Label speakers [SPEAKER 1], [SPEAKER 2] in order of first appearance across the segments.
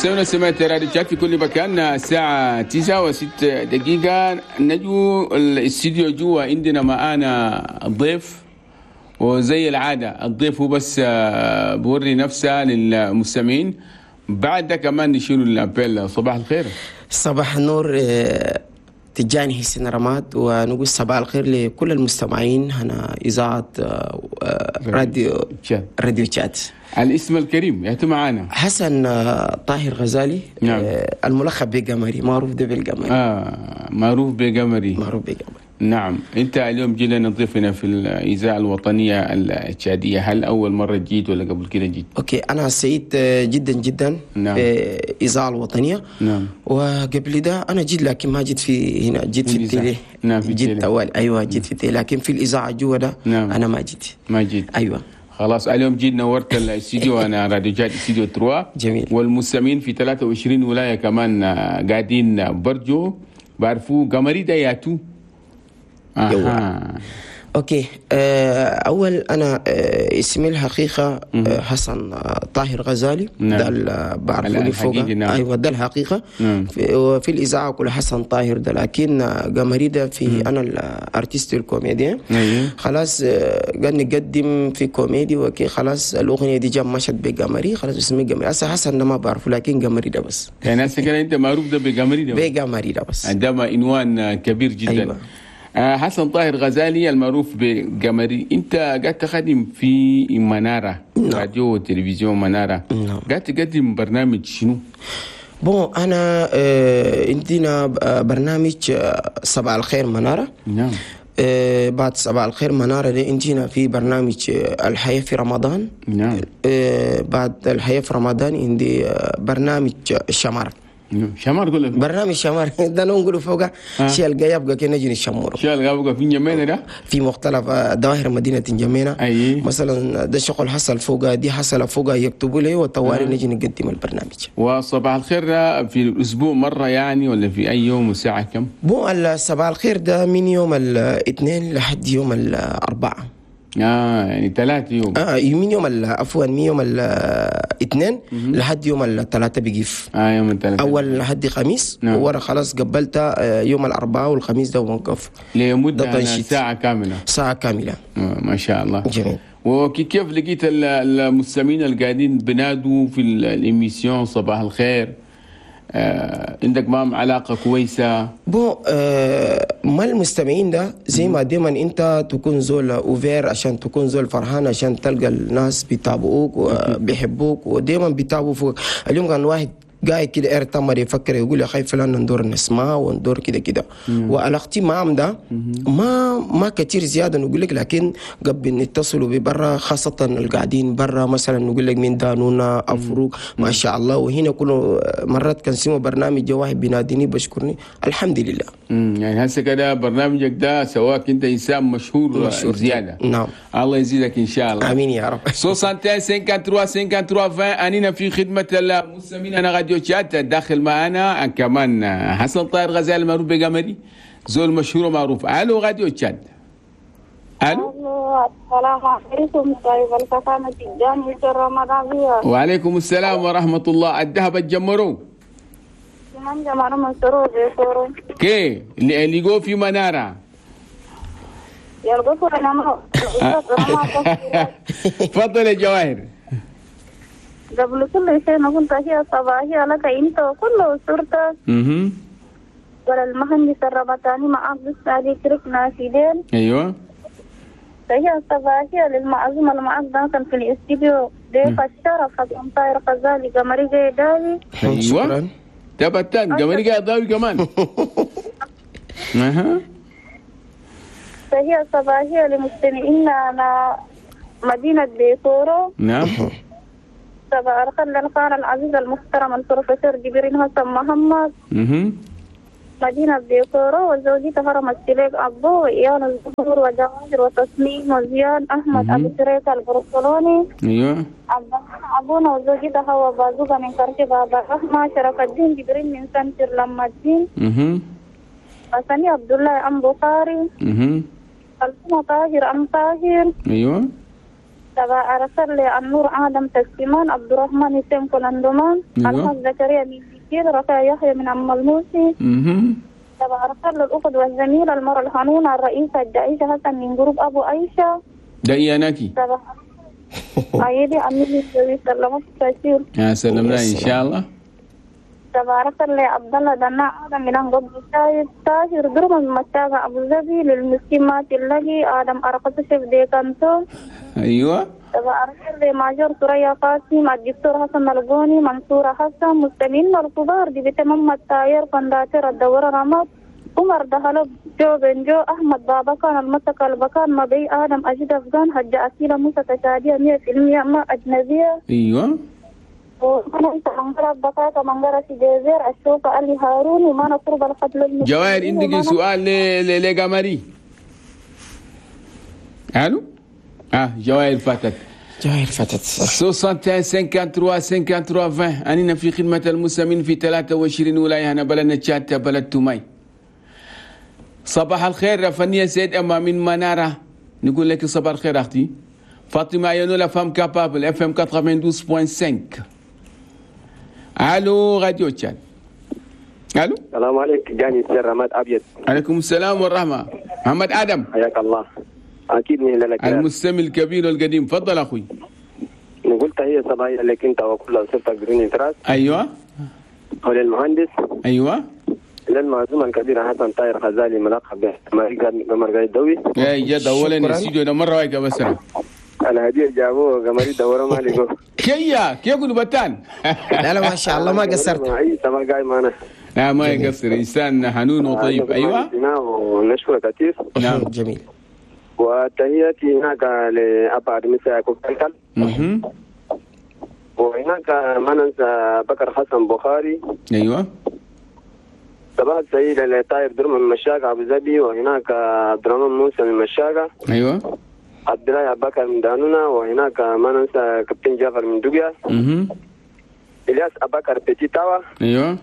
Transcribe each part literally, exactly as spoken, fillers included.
[SPEAKER 1] مستمعينا سمعت راديو تشاد في كل مكان، الساعة تسعة وست دقيقة. نجو الاستديو جوا عندنا معانا الضيف، وزي العادة الضيف هو بس بوري نفسه للمستمعين، بعد ده كمان نشيل ال appel. صباح الخير.
[SPEAKER 2] صباح النور تجاني حسين رماد، ونقول صباح الخير لكل المستمعين هنا إذاعة راديو تشاد. راديو تشاد.
[SPEAKER 1] الاسم الكريم يا معانا
[SPEAKER 2] حسن طاهر غزالي. نعم. الملقب بقمري، معروف ده بالقمري.
[SPEAKER 1] آه معروف بقمري،
[SPEAKER 2] معروف بقمري.
[SPEAKER 1] نعم. انت اليوم جينا نضيفنا في الاذاعة الوطنية التشاديه، هل اول مرة جيت ولا قبل كده جيت؟
[SPEAKER 2] okay، انا سعيد جدا جدا. نعم. في الاذاعة الوطنية. نعم. وقبل ده انا جيت، لكن ما جيت في هنا، جيت في ال télé. نعم في جيت اول. ايوه جيت في ال télé، لكن في الاذاعة جوا ده. نعم. انا ما جيت.
[SPEAKER 1] ما جيت.
[SPEAKER 2] ايوه
[SPEAKER 1] خلاص. اليوم جيت نورت الاستديو، انا راديو تشاد استديو ثلاثة.
[SPEAKER 2] جميل.
[SPEAKER 1] والمستمعين في ثلاثة وعشرين ولاية كمان قاعدين برجو بعرفوا قمري ده ياتو.
[SPEAKER 2] آه. okay. اول انا اسمي الحقيقة حسن طاهر غزالي. نعم. ده اللي بعرفوني فوق. نعم. ايوه ده الحقيقة. نعم. في, في الاذاعة كل حسن طاهر ده، لكن قمري ده في مم. انا ال artiste ال comédien. أيوه. خلاص قاعد نقدم في كوميدي وكي، خلاص الاغنية دي جاب مشت بقمري، خلاص اسمي قمري. هسه حسن ده ما بعرفه، لكن قمري ده بس.
[SPEAKER 1] يعني هسه كده انت معروف ده بقمري ده،
[SPEAKER 2] بقمري ده بس.
[SPEAKER 1] عندما عنوان كبير جدا. أيوة. حسن طاهر غزالي المعروف بقمري، انت قاعد تخدم في منارة. نعم. راديو وتلفزيون منارة. نعم. قاعد تقدم برنامج شنو؟
[SPEAKER 2] bon انا آه عندنا برنامج صباح الخير منارة.
[SPEAKER 1] نعم.
[SPEAKER 2] آه بعد صباح الخير منارة دي عندنا في برنامج الحياة في رمضان.
[SPEAKER 1] نعم.
[SPEAKER 2] آه بعد الحياة في رمضان عندي برنامج الشمار.
[SPEAKER 1] شمار كله
[SPEAKER 2] برنامج شمار ده نقوله فوق شيء الجاي يبقى كنا نجي نشمره.
[SPEAKER 1] شيء الجاي يبقى في جمينة ده
[SPEAKER 2] في مختلف دوائر مدينة جمينة.
[SPEAKER 1] أي.
[SPEAKER 2] مثلا ده شغل حصل فوق، دي حصل فوق، يكتبوا لي وطوالي نجي نقدم البرنامج.
[SPEAKER 1] وصباح الخير ده في الأسبوع مرة يعني ولا في أي يوم والساعة كم؟
[SPEAKER 2] bon الصباح الخير ده من يوم الاثنين لحد يوم الأربعاء.
[SPEAKER 1] اه يعني ثلاث يوم.
[SPEAKER 2] اه من يوم عفوا من يوم الاثنين لحد يوم الثلاثاء بيقف.
[SPEAKER 1] اه يوم الثلاثاء
[SPEAKER 2] اول لحد خميس. نعم. ورا خلاص قبلت يوم الاربعاء والخميس ده وقف
[SPEAKER 1] لمدة ساعة كاملة.
[SPEAKER 2] ساعة كاملة.
[SPEAKER 1] آه ما شاء الله.
[SPEAKER 2] جميل.
[SPEAKER 1] وكيف لقيت المستمعين اللي قاعدين بنادوا في ال émission صباح الخير؟ آه، عندك معهم علاقة كويسة؟
[SPEAKER 2] bon آه، ما المستمعين ده زي ما دايما انت تكون زول ouvert عشان تكون زول فرحان، عشان تلقى الناس بيتابعوك وبيحبوك ودايما بيتابعوا فوق. اليوم كان واحد قاعد كده اير تمر يفكر يقول يا اخي فلان ندور نسمع وندور كده كده. وعلاقتي معهم ده ما ما كثير زيادة نقول لك، لكن قبل نتصلوا ببرا، خاصة القاعدين برا مثلا نقول لك من دانونا افروق ما شاء الله. وهنا كل مرات كان سمو برنامج واحد بيناديني بشكرني الحمد لله.
[SPEAKER 1] امم يعني هسه كده برنامجك ده سواك انت انسان مشهور, مشهور زيادة.
[SPEAKER 2] نعم.
[SPEAKER 1] الله يزيدك ان شاء الله.
[SPEAKER 2] امين يا رب.
[SPEAKER 1] ستة وستين ثلاثة وخمسين ثلاثة وعشرين انينا في خدمة المستمعين. انا راديو تشاد داخل معنا كمان حسن طاهر غزال المعروف بقمري، زول مشهور ومعروف. الو راديو تشاد. الو.
[SPEAKER 3] السلام عليكم. طيب الفخامة الجامعة الرمضانية.
[SPEAKER 1] وعليكم السلام ورحمة الله. الذهب الجمرو
[SPEAKER 3] من جمرو من سرور
[SPEAKER 1] كي اللي جو في منارة
[SPEAKER 3] يلقوا انا.
[SPEAKER 1] تفضل يا جواهر.
[SPEAKER 3] قبل كل شيء نقول تحية صباحية لك أنت وكل أسرتك.
[SPEAKER 1] اها.
[SPEAKER 3] وللمهندس الربطاني معك بالسعدي كريك ناشدين.
[SPEAKER 1] أيوه.
[SPEAKER 3] تحية صباحية للمعزوم المعز داخل في الاستديو ضيف الشرف حسن طاهر غزالي قمري قيداوي.
[SPEAKER 1] أيوه.
[SPEAKER 2] شكرا.
[SPEAKER 1] تبتان قمري قيداوي كمان. اها.
[SPEAKER 3] تحية صباحية لمستمعينا على مدينة بيتورو.
[SPEAKER 1] نعم.
[SPEAKER 3] صباح الخير للخال العزيز المحترم البروفيسور جبريل حسن محمد.
[SPEAKER 1] اها.
[SPEAKER 3] مدينة بيكورو وزوجته هرم السليك أبو وإيان الزهور وجواهر وتصميم وزيان أحمد أبو شريك البرشلوني.
[SPEAKER 1] أيوه.
[SPEAKER 3] أبونا وزوجته هو بازوغا من كرش بابا رحمة شرف الدين جبريل من سنتر لما الدين.
[SPEAKER 1] اها.
[SPEAKER 3] حسني عبد الله أم بخاري.
[SPEAKER 1] اها.
[SPEAKER 3] ألفنا طاهر أم طاهر.
[SPEAKER 1] أيوه.
[SPEAKER 3] تبع أرسل لي النور آدم تسليمان عبد الرحمن حسين كولندومان الحاج زكريا من بكير رفيع يحيى من عم الموسي. تبع أرسل للأخت والزميلة المرأة الحنونة الرئيسة الدعيشة حسن من جروب أبو عيشة.
[SPEAKER 1] ده إياناكي.
[SPEAKER 3] تبع عيدي أمي سلمت كثير.
[SPEAKER 1] يا سلمنا إن شاء الله.
[SPEAKER 3] تبارك الله عبد الله دنا آدم من قبل شايب تاجر درم المشاغ أبو ظبي للمسكين ما تلاقي آدم أرقص شيف ديكانتو.
[SPEAKER 1] أيوة.
[SPEAKER 3] تبارك الله ماجور ثريا قاسم الدكتور حسن الغوني منصور حسن مستمعين الكبار دي بتمام التاير فنداتر الدورة رمض عمر دهلب جو بنجو أحمد بابكان المسك البكان مبي آدم أجد أفغان حج أسيلة موسى تشادية مية في المية ما أجنبية.
[SPEAKER 1] أيوة.
[SPEAKER 3] وأنا أنت منقرة بطاطا منقرة جزير الشوكة علي هارون وما نقرب القتل.
[SPEAKER 1] جواهر عندك سؤال ل لقمري؟ ألو؟ آه جواهر فاتت.
[SPEAKER 2] جواهر فاتت.
[SPEAKER 1] ستة وستين ثلاثة وخمسين ثلاثة وخمسين عشرين. أننا في خدمة المسلمين في ثلاثة وعشرين ولاية هنا بلدنا تشاد بلد توماي. صباح الخير فنية سيد أما من منارة نقول لك صباح الخير أختي فاطمة يانو la femme capable إف إم تسعة وثمانين فاصلة خمسة. الو راديو تشاد. الو
[SPEAKER 4] السلام عليك جاني سير رماد ابيض.
[SPEAKER 1] عليكم السلام والرحمة محمد ادم.
[SPEAKER 4] حياك الله. اكيد من لك
[SPEAKER 1] المستمع الكبير والقديم. تفضل اخوي.
[SPEAKER 4] نقول تحية صباحية لك انت وكل اسرتك بدون اعتراض.
[SPEAKER 1] ايوه.
[SPEAKER 4] وللمهندس.
[SPEAKER 1] ايوه.
[SPEAKER 4] للمعزوم الكبير حسن طاهر غزالي ملقب بمرقاي الدوي.
[SPEAKER 1] يا جد اولا الاستديو ده مرة واحدة بس.
[SPEAKER 4] الهدية جابوه قمري دورة ما لقوه.
[SPEAKER 1] كيا كيا كنت بتان.
[SPEAKER 2] لا لا ما شاء الله ما قصرت.
[SPEAKER 4] عيسى ما قايم أنا.
[SPEAKER 1] لا ما يقصر إنسان حنون وطيب. أيوة.
[SPEAKER 4] ونشكره كثير.
[SPEAKER 1] نعم
[SPEAKER 2] جميل.
[SPEAKER 4] وتحياتي هناك لأبا مساء كوكتل. وهناك ما ننسى بكر حسن بخاري.
[SPEAKER 1] أيوة.
[SPEAKER 4] صباح السعيد لطاير درم من مشاقة أبو ظبي، وهناك عبد الرحمن موسى من مشاقة.
[SPEAKER 1] أيوة.
[SPEAKER 4] عبد الله أبو بكر من دانونا، وهناك ما ننسى كابتن جعفر من دوغيا.
[SPEAKER 1] اها.
[SPEAKER 4] إلياس أبو بكر بيتي تاوا.
[SPEAKER 1] أيوة.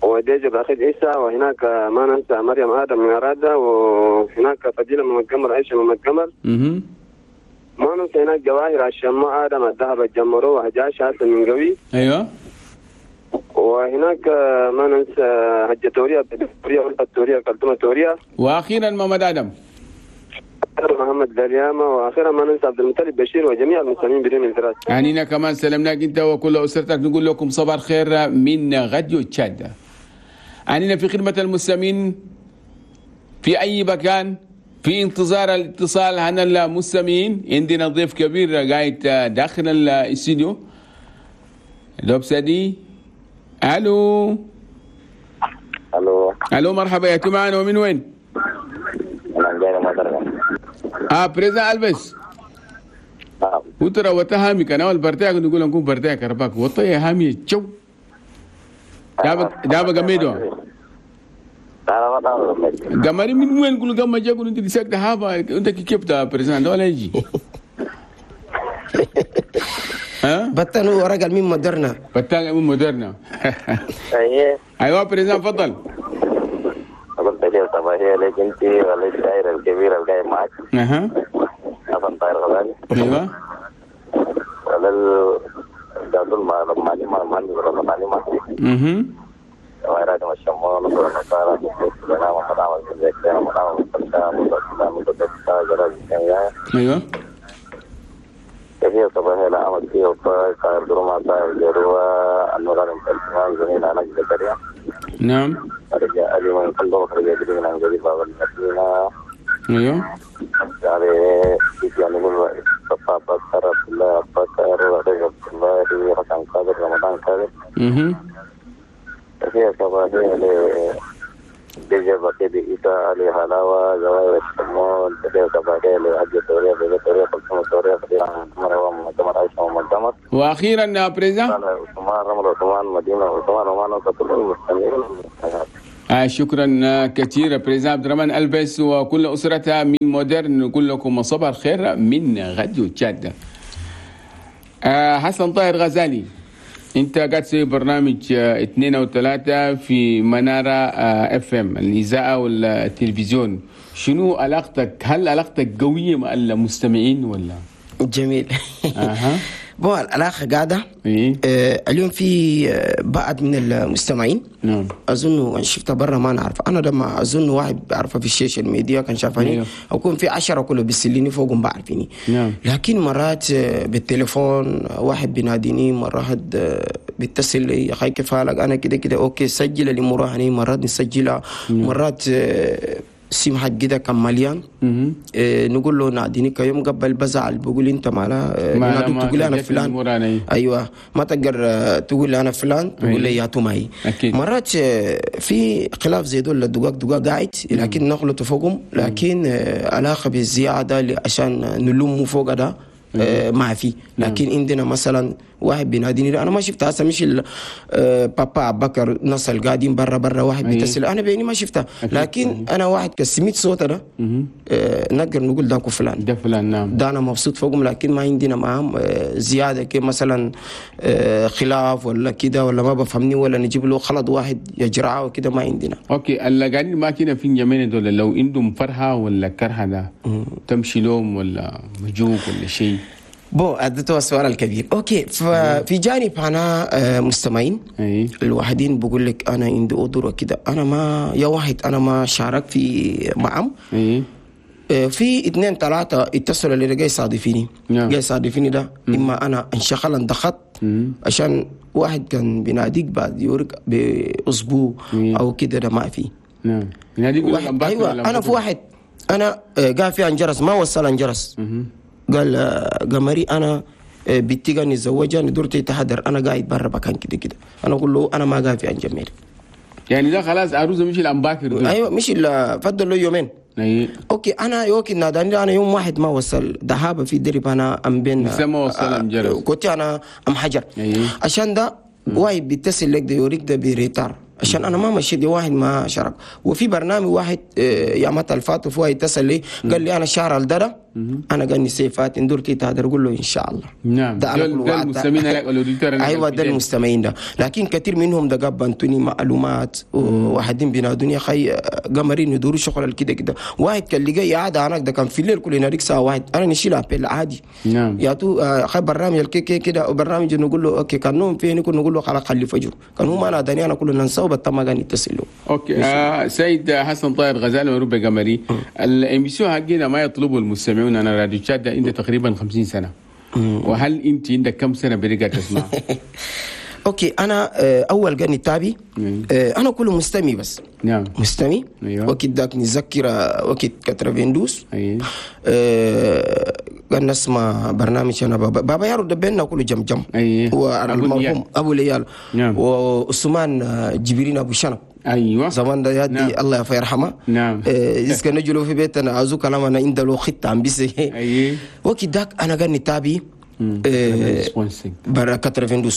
[SPEAKER 4] وديجي باخد عيسى، وهناك ما ننسى مريم آدم من أرادة، وهناك فضيلة من متجمر عيشة من متجمر.
[SPEAKER 1] اها.
[SPEAKER 4] ما ننسى هناك جواهر الشماء آدم الذهب الجمرو وهجاش حسن من قوي.
[SPEAKER 1] أيوة.
[SPEAKER 4] وهناك ما ننسى حجة توريا توريا والتوريا كلتومة توريا.
[SPEAKER 1] وأخيرا محمد آدم.
[SPEAKER 4] محمد دليامة. واخيرا ما ننسى عبد المطلب بشير وجميع المسلمين بدون انفراد.
[SPEAKER 1] يعني كمان سلمناك انت وكل اسرتك، نقول لكم صباح الخير من راديو تشاد. عنينا في خدمة المستمعين في اي مكان، في انتظار الاتصال عن المستمعين. عندنا ضيف كبير قاعد داخل الاستديو لوبسدي. الو
[SPEAKER 5] الو
[SPEAKER 1] الو مرحبا يا معنا ومن وين؟ اه بريزا البس.
[SPEAKER 5] نعم.
[SPEAKER 1] وترى وتهامي كان اول برتاك نقول نكون برتاك رباك وطي هامي تشو. دابا دابا قميدو. قمري من وين نقول قام جا قول انت ساكت هابا انت كيف تا بريزان ولا يجي. ها؟
[SPEAKER 2] بتان هو رجل من مودرنا.
[SPEAKER 1] بتان من مودرنا.
[SPEAKER 5] ايوه.
[SPEAKER 1] ايوه بريزان تفضل.
[SPEAKER 5] قلت صباحية لك انت وللشاعر الكبير الجاي معك.
[SPEAKER 1] اها.
[SPEAKER 5] حسن طاهر غزالي.
[SPEAKER 1] ايوه.
[SPEAKER 5] ولل دادول ما معلمة معلمة.
[SPEAKER 1] اها.
[SPEAKER 5] ويراد الشمال والنصارى
[SPEAKER 1] ايوه.
[SPEAKER 5] تحية صباحية لأحمد فيه وطارق طاهر دروما طاهر جروة النوران الإمام زميل أنا زكريا.
[SPEAKER 1] نعم.
[SPEAKER 5] رجاء علي من قلبه رجاء جديد من جديد باب المدينة.
[SPEAKER 1] ايوه.
[SPEAKER 5] يعني يعني نقول صفا بكر عبد الله بكر رجب عبد الله حسن قادر رمضان قادر.
[SPEAKER 1] اها.
[SPEAKER 5] تحية صباحية ل ديجا بكيدي إيتا علي هلاوة زوايا الشمال. تحية صباحية لحجة توريا بيجا توريا قلتم توريا خديرة مروة مدمر عيشة مدمر.
[SPEAKER 1] وأخيرا يا بريزا
[SPEAKER 5] عثمان رمل عثمان مدينة عثمان عمان وكل المستمعين والمستمعات.
[SPEAKER 1] آه شكرا كثير بريزا عبد الرحمن ألبس وكل أسرتها من مودرن. نقول لكم صباح الخير من راديو تشاد. آه حسن طاهر غزالي، انت قاعد تسوي برنامج اثنين وثلاثة في منارة اف ام الإذاعة والتلفزيون، شنو علاقتك؟ هل علاقتك قوية مع المستمعين ولا؟
[SPEAKER 2] جميل.
[SPEAKER 1] اها
[SPEAKER 2] bon العلاقة قاعدة.
[SPEAKER 1] ايه
[SPEAKER 2] آه اليوم في آه، بعض من المستمعين
[SPEAKER 1] نعم
[SPEAKER 2] اظن انا شفتها برا ما نعرف، انا لما اظن واحد بعرفه في ال social media كان شافني
[SPEAKER 1] أيوه.
[SPEAKER 2] اكون في عشرة كله بيسليني فوقهم بعرفيني.
[SPEAKER 1] نعم.
[SPEAKER 2] لكن مرات آه، بالتليفون آه، واحد بيناديني، مرات آه، بيتصل لي يا اخي كيف حالك، انا كده كده okay سجل الامور هني، مرات نسجلها، مرات آه، سيم حق كده كان مليان.
[SPEAKER 1] مهم.
[SPEAKER 2] آه، نقول له ناديني كيوم قبل بزعل بقول انت مالا آه،
[SPEAKER 1] ما-
[SPEAKER 2] ينادوك
[SPEAKER 1] ما
[SPEAKER 2] تقول انا
[SPEAKER 1] سجلت
[SPEAKER 2] فلان.
[SPEAKER 1] الأمور أنا إيه.
[SPEAKER 2] ايوه ما تقدر آه، تقول لي انا فلان، تقول لي يا توماي.
[SPEAKER 1] أكيد.
[SPEAKER 2] مرات آه، في خلاف زي دول الدقاق دقاق قاعد، لكن نغلط فوقهم، لكن آه، علاقة بالزيادة اللي عشان نلومه فوق ده آه، ما في. لكن عندنا مثلا واحد بيناديني انا ما شفته هسه، مش ال- آه، بابا ابو بكر نصل قاعدين برا برا واحد
[SPEAKER 1] أيه.
[SPEAKER 2] بيتصل انا بيني ما شفته،
[SPEAKER 1] أكيد.
[SPEAKER 2] لكن انا واحد كسميت صوته ده آه، نقدر نقول ده فلان،
[SPEAKER 1] ده فلان. نعم
[SPEAKER 2] ده انا مبسوط فوقهم، لكن ما عندنا معاهم آه، زيادة كي مثلا آه، خلاف ولا كده ولا ما بفهمني ولا نجيب له خلط واحد يجرعه وكده، ما عندنا.
[SPEAKER 1] okay اللي قاعدين معاك هنا في الجميع دول لو عندهم فرحه ولا كرهه ده تمشي لهم ولا مجوك ولا شيء؟
[SPEAKER 2] bon هذا هو السؤال الكبير. okay ففي جانب انا آه، مستمعين
[SPEAKER 1] اي
[SPEAKER 2] الواحدين بقول لك انا عندي قدره كده، انا ما يا واحد انا ما شارك في معهم.
[SPEAKER 1] اي
[SPEAKER 2] آه، في اثنين ثلاثة اتصلوا اللي جاي يصادفيني.
[SPEAKER 1] نعم.
[SPEAKER 2] جاي يصادفيني ده اما انا انشغل انضغط عشان واحد كان بيناديك بعد يورك باسبوع
[SPEAKER 1] مم.
[SPEAKER 2] او كده، ده ما في.
[SPEAKER 1] نعم يناديك يقول لك
[SPEAKER 2] واحد
[SPEAKER 1] أمباكر
[SPEAKER 2] ايوه
[SPEAKER 1] ولا
[SPEAKER 2] انا في
[SPEAKER 1] أمباكر؟
[SPEAKER 2] واحد انا آه، قاعد في انجرس ما وصل انجرس، قال آه، قمري انا آه، بنتي قال نتزوجها ندورتي تحضر، انا قاعد برا مكان كده كده، انا اقول له انا ما قاعد في انجمير.
[SPEAKER 1] يعني ده خلاص عروسه مش الامباكر دول.
[SPEAKER 2] ايوه مش الا فضل له يومين.
[SPEAKER 1] اي
[SPEAKER 2] okay انا يوكي ناداني انا يوم واحد ما وصل ذهاب في درب انا ام بين
[SPEAKER 1] لسه ما وصل أم جرس.
[SPEAKER 2] كنت انا ام حجر.
[SPEAKER 1] أيه.
[SPEAKER 2] عشان ده واحد بيتصل لك ده يوريك ده ب retard، عشان انا ما مشيت دي واحد ما شارك. وفي برنامج واحد آه، يا متى الفات وفي واحد اتصل لي قال لي انا شهر الدرة انا قال لي سيفات ندورتي تهدر، قول له ان شاء الله.
[SPEAKER 1] نعم.
[SPEAKER 2] ده انا
[SPEAKER 1] دول-
[SPEAKER 2] كل
[SPEAKER 1] دول
[SPEAKER 2] وعدت.
[SPEAKER 1] المستمعين هناك، ال auditeurs هناك
[SPEAKER 2] ايوه ده
[SPEAKER 1] الفيديو.
[SPEAKER 2] المستمعين ده، لكن كثير منهم ده قبنتوني معلومات وواحدين بينادوني يا اخي قمرين يدوروا شغل كده كده. واحد كان لقى قاعد هناك ده كان في الليل كل يناديك ساعة واحد انا نشيل appel عادي.
[SPEAKER 1] نعم.
[SPEAKER 2] يا تو آه، خي برنامج الكي كي كده وبرنامج نقول له okay كان نوم فيه نكون نقول له خلاص خلي فجر، كان هو ما ناداني انا كله ننساه بتما كان يتصل له.
[SPEAKER 1] okay آه سيد حسن طاهر غزال معروف بقمري، ال émission حقنا ما يطلبه المستمعون، انا راديو تشاد ده عنده تقريبا خمسين سنة، وهل انت عندك كم سنة برجع تسمع؟
[SPEAKER 2] okay انا آه، اول قال تابي آه، انا كله مستمع بس.
[SPEAKER 1] نعم
[SPEAKER 2] مستمع.
[SPEAKER 1] أيوة.
[SPEAKER 2] وقت داك نتذكر آه، وقت تسعة وثمانين
[SPEAKER 1] اي
[SPEAKER 2] آه، كان نسمع برنامج انا بابا بابا يارو دبينا كله جم جم.
[SPEAKER 1] أي. أبو
[SPEAKER 2] والمرحوم
[SPEAKER 1] ليال.
[SPEAKER 2] ابو ليال.
[SPEAKER 1] نعم.
[SPEAKER 2] وعثمان آه، جبرين ابو شنب
[SPEAKER 1] ايوه
[SPEAKER 2] زمان ده يدي
[SPEAKER 1] نعم.
[SPEAKER 2] الله يرحمه.
[SPEAKER 1] نعم.
[SPEAKER 2] آه، إذا نجلو في بيتنا عزو كلام انا عند له خطه عم بيسي.
[SPEAKER 1] اي
[SPEAKER 2] وقت داك انا قال نتابي آه، برا تسعة وثمانين.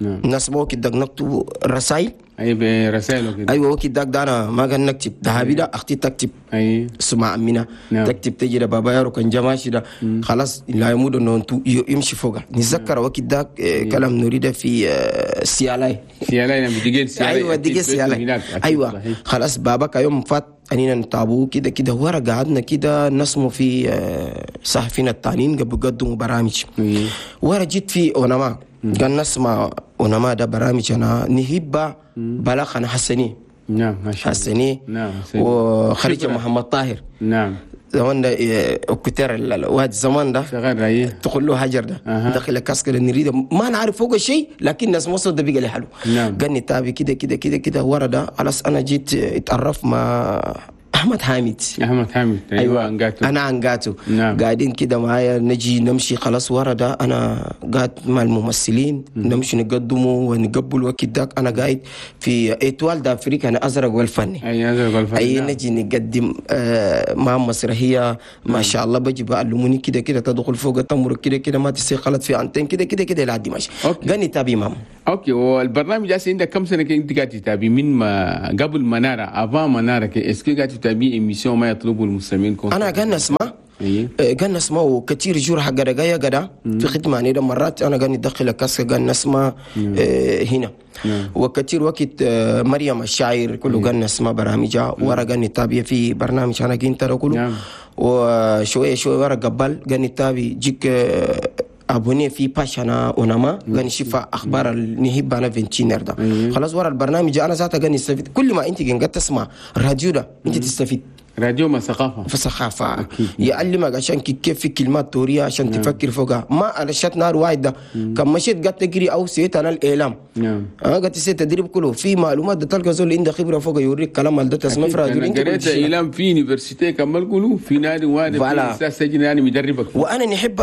[SPEAKER 1] نعم.
[SPEAKER 2] الناس وقت داك نكتب رسائل.
[SPEAKER 1] اي برسائل وكده.
[SPEAKER 2] ايوه وقت داك ده انا ما كان نكتب ذهبي ده اختي تكتب.
[SPEAKER 1] اي
[SPEAKER 2] سمع عمنا.
[SPEAKER 1] نعم.
[SPEAKER 2] تكتب تجي ده بابا يارو كان جماشي ده خلاص لا يمود انه انتو يمشي فوقها نتذكر وقت داك آه، كلام نريده في آه، سيالاي.
[SPEAKER 1] سيالاي نعم دقيق سيالاي.
[SPEAKER 2] ايوه
[SPEAKER 1] أكيد
[SPEAKER 2] دقيق
[SPEAKER 1] بيتهم
[SPEAKER 2] سيالاي.
[SPEAKER 1] هناك، أكيد،
[SPEAKER 2] ايوه
[SPEAKER 1] صحيح.
[SPEAKER 2] خلاص بابا يوم فات انينا نتابعه كده كده ورا قعدنا كده نسمو في آه، صحفينا التانيين قبل قدموا برامج.
[SPEAKER 1] إيه.
[SPEAKER 2] ورا جيت في اونما قال نسمع اونما ده برامج انا نهبه بلاغ انا حسني.
[SPEAKER 1] نعم ما شاء الله.
[SPEAKER 2] حسني.
[SPEAKER 1] نعم حسني.
[SPEAKER 2] وخريجة
[SPEAKER 1] خبرة.
[SPEAKER 2] محمد طاهر.
[SPEAKER 1] نعم
[SPEAKER 2] زمان ده إيه، كتير ال- الواد زمان ده
[SPEAKER 1] شغال رأيه
[SPEAKER 2] تقول له هجر ده
[SPEAKER 1] أها.
[SPEAKER 2] دخل كاسك اللي نريده ما نعرف فوق شيء، لكن الناس مصر ده بقى لي حلو.
[SPEAKER 1] نعم.
[SPEAKER 2] قال تابي كده كده كده كده ورا ده خلاص انا جيت اتعرف مع احمد حامد.
[SPEAKER 1] احمد حامد ايوه انقاتو.
[SPEAKER 2] انا انقاتو.
[SPEAKER 1] نعم.
[SPEAKER 2] قاعدين كده معايا نجي نمشي خلاص ورا ده انا قاعد مع الممثلين نمشي نقدمه ونقبل وقت داك انا قاعد في Étoile d'Afrique انا ازرق والفني.
[SPEAKER 1] اي ازرق والفني.
[SPEAKER 2] اي
[SPEAKER 1] نعم.
[SPEAKER 2] نجي نقدم آه مع مسرحية ما شاء الله بجي بعلموني كده كده تدخل فوق تمر كده كده ما تصير غلط في antenne كده كده كده لعدي ماشي.
[SPEAKER 1] okay.
[SPEAKER 2] قاني تابي مام.
[SPEAKER 1] okay والبرنامج ده عندك كم سنة انت قاعد تتابعي من ما قبل منارة avant منارة est-ce que قاعد تتابعي émission ما يطلبه المستمعين كون
[SPEAKER 2] انا قاعد نسمع.
[SPEAKER 1] اي
[SPEAKER 2] آه، قاعد نسمع كثير jour حق دقايا قدا في خدمة يعني ده مرات انا قاعد ندخل casque قاعد نسمع آه، هنا.
[SPEAKER 1] نعم.
[SPEAKER 2] وكثير وقت آه، مريم الشاعر كله قاعد نسمع برامجها ورا قاعد نتابع في برنامج انا كنت ده كله.
[SPEAKER 1] نعم.
[SPEAKER 2] وشوية شوية ورا قبل قال نتابي جيك abonné في page انا اونما قال نشوف اخبار النهيب انا فينتينر ده. خلاص ورا البرنامج انا ذاته قال نستفيد. كل ما انت قاعد تسمع الراديو ده انت تستفيد.
[SPEAKER 1] راديو ما ثقافة،
[SPEAKER 2] في ثقافة يعلمك عشان كيف في كلمات توريه عشان نعم. تفكر فوقها. ما علشان نهار واحد ده كان مشيت قاعد تجري او سيت انا الاعلام نعم. انا قاعد تسيت تدريب كله في معلومات ده تلقى زول عنده خبره فوق يوريك كلام ده تسمع في راديو.
[SPEAKER 1] انت قريت اعلام في université كمل كله في نادي واحد في استاذ سجن يعني مدربك.
[SPEAKER 2] وانا نحب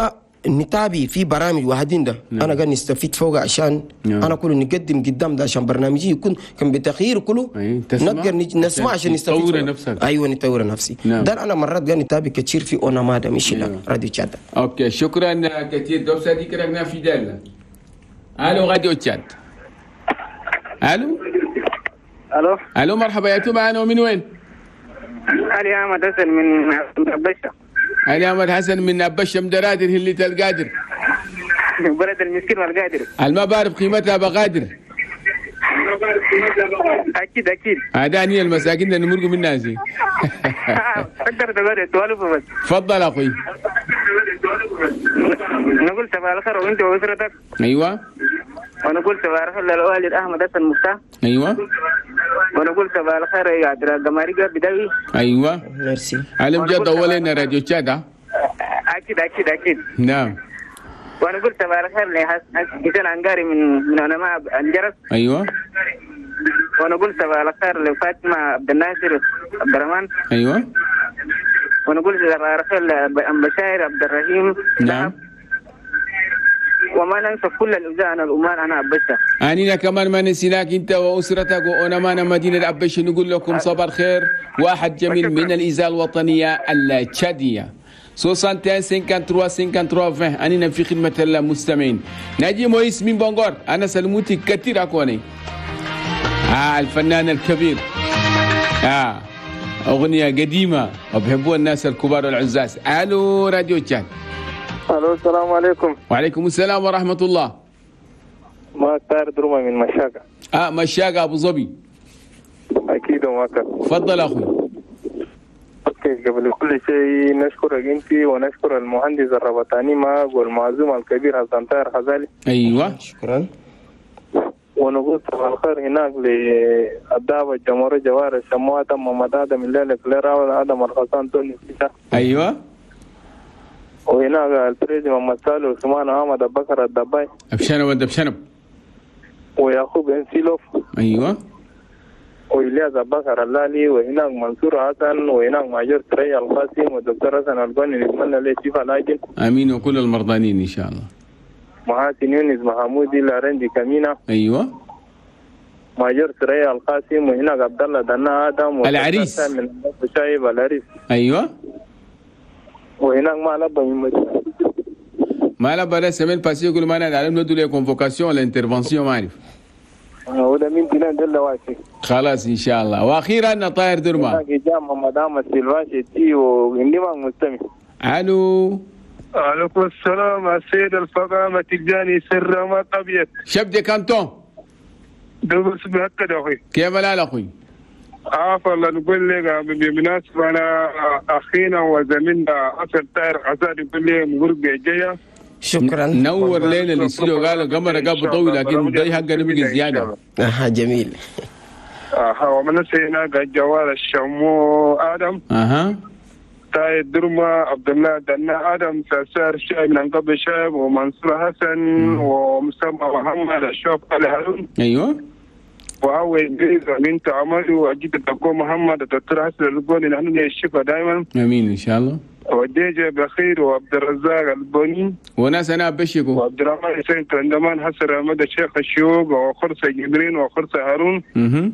[SPEAKER 2] نتابي في برامج واحدين ده نعم. انا قاعد نستفيد فوق عشان نعم. انا كله نقدم قدام ده عشان برنامجي يكون كان بتغيير كله نقدر نسمع عشان نستفيد.
[SPEAKER 1] نطور نفسك.
[SPEAKER 2] ايوه نطور نفسي نعم. ده انا مرات قاعد نتابي كثير في اونما ده مش لا راديو تشاد.
[SPEAKER 1] OK شكرا كثير دوب صديق رقنا في دالنا. الو راديو تشاد. الو
[SPEAKER 6] الو
[SPEAKER 1] الو مرحبا يا تو معنا ومن وين؟
[SPEAKER 6] علي احمد حسن من بشا.
[SPEAKER 1] علي احمد حسن من أبشة مدرادر اللي تلقادر
[SPEAKER 6] بلد المسكين والقادر
[SPEAKER 1] الما بعرف قيمتها بقادر.
[SPEAKER 6] اكيد اكيد
[SPEAKER 1] هذا المساكين اللي نمرقوا منها زي
[SPEAKER 6] تقدر تقول توالف بس.
[SPEAKER 1] تفضل اخوي.
[SPEAKER 6] نقول صباح الخير وانت واسرتك.
[SPEAKER 1] ايوه.
[SPEAKER 6] ونقول صباح الخير للوالد احمد حسن مفتاح.
[SPEAKER 1] ايوه.
[SPEAKER 6] ونقول صباح الخير يا عبد القماري بدوي.
[SPEAKER 1] ايوه
[SPEAKER 2] ميرسي.
[SPEAKER 1] علم جد اولين راديو تشاد.
[SPEAKER 6] اكيد اكيد اكيد
[SPEAKER 1] نعم.
[SPEAKER 6] ونقول صباح الخير لحسين عنقاري من من علماء الجرس.
[SPEAKER 1] ايوه.
[SPEAKER 6] ونقول صباح الخير لفاطمة عبد الناصر عبد الرحمن.
[SPEAKER 1] ايوه.
[SPEAKER 6] ونقول صباح الخير لبشاير عبد الرحيم.
[SPEAKER 1] نعم.
[SPEAKER 6] وما ننسى كل الأجزاء أنا الأمان أنا أبشة.
[SPEAKER 1] أنينا كمان ما نسيناك أنت وأسرتك وأنمان مدينة أبشة. نقول لكم صباح الخير واحد جميل من الإذاعة الوطنية التشادية. واحد وستين ثلاثة وخمسين ثلاثة وعشرين. أنينا في خدمة المستمعين. ناجي مويس من بونغور. أنا سلموتي كثير أكوني. آه الفنان الكبير. آه أغنية قديمة وبحبوها الناس الكبار والعزاز. ألو راديو تشاد.
[SPEAKER 7] الو السلام عليكم.
[SPEAKER 1] وعليكم السلام ورحمة الله.
[SPEAKER 7] ما طاهر دروما من مشاقة.
[SPEAKER 1] اه مشاقة ابو ظبي.
[SPEAKER 7] اكيد وماك.
[SPEAKER 1] تفضل اخوي.
[SPEAKER 7] OK قبل كل شيء نشكرك انت ونشكر المهندس الربطاني معك والمعزوم الكبير حسن طاهر غزالي.
[SPEAKER 1] ايوه
[SPEAKER 2] شكرا.
[SPEAKER 7] ونقول صباح الخير هناك للدعوة الجمهورية جوار الشموات محمد ادم الليلة كليرا ادم الخسان توني.
[SPEAKER 1] ايوه.
[SPEAKER 7] وهناك البريزي محمد سالو عثمان احمد ابو بكر الدباي
[SPEAKER 1] ابشنب ود ابشنب
[SPEAKER 7] ويعقوب انسيلوف.
[SPEAKER 1] ايوه.
[SPEAKER 7] والياس ابو بكر اللالي وهناك منصور حسن وهناك ماجور تري القاسم والدكتور حسن القني نتمنى له الشفاء العاجل.
[SPEAKER 1] امين وكل المرضانين ان شاء الله.
[SPEAKER 7] محاسن يونس محمودي لارندي كمينة.
[SPEAKER 1] ايوه.
[SPEAKER 7] ماجور تري القاسم وهناك عبد الله دنا ادم
[SPEAKER 1] العريس
[SPEAKER 7] من شايب العريس.
[SPEAKER 1] ايوه.
[SPEAKER 7] وهناك ما لبى من
[SPEAKER 1] ما لبى la semaine passée يقول ما نعلم ندو les convocations l'intervention ما اعرف.
[SPEAKER 7] وده من دينا دل واسي.
[SPEAKER 1] خلاص ان شاء الله. واخيرا طاهر درما.
[SPEAKER 7] جامع مدام السلفاشي تي وعندي ما مستمع.
[SPEAKER 1] الو.
[SPEAKER 8] عليكم السلام السيد الفقامة تجاني سر ما طبيعت.
[SPEAKER 1] chef de canton.
[SPEAKER 8] دوبس بهكذا اخوي.
[SPEAKER 1] كيف الحال اخوي؟
[SPEAKER 8] عافا الله. نقول لك بالمناسبة أنا أخينا وزميلنا حسن طاهر غزال يقول لي مبروك الجاية.
[SPEAKER 2] شكرا.
[SPEAKER 1] نور لنا الاستوديو قالوا قمر قبل طويل لكن ضي حقنا بقي زيادة.
[SPEAKER 2] اها جميل.
[SPEAKER 8] اها ومن هناك الجوال الشمو آدم.
[SPEAKER 1] اها.
[SPEAKER 8] تاي درما عبد الله دنا آدم ساسار شايب من قبل شايب ومنصور حسن ومسمى محمد الشوف علي هارون.
[SPEAKER 1] ايوه.
[SPEAKER 8] وهو إدريس بنت عمر وأجد الدكتور محمد الدكتور حسن البوني نحن الشفاء دائما.
[SPEAKER 1] امين ان شاء الله.
[SPEAKER 8] وديجي بخير وعبد الرزاق البوني
[SPEAKER 1] وناس انا بشكو
[SPEAKER 8] وعبد الرحمن حسين كندمان حسن احمد الشيخ الشيوخ وخرسه جبرين وخرسه هارون.
[SPEAKER 1] اها.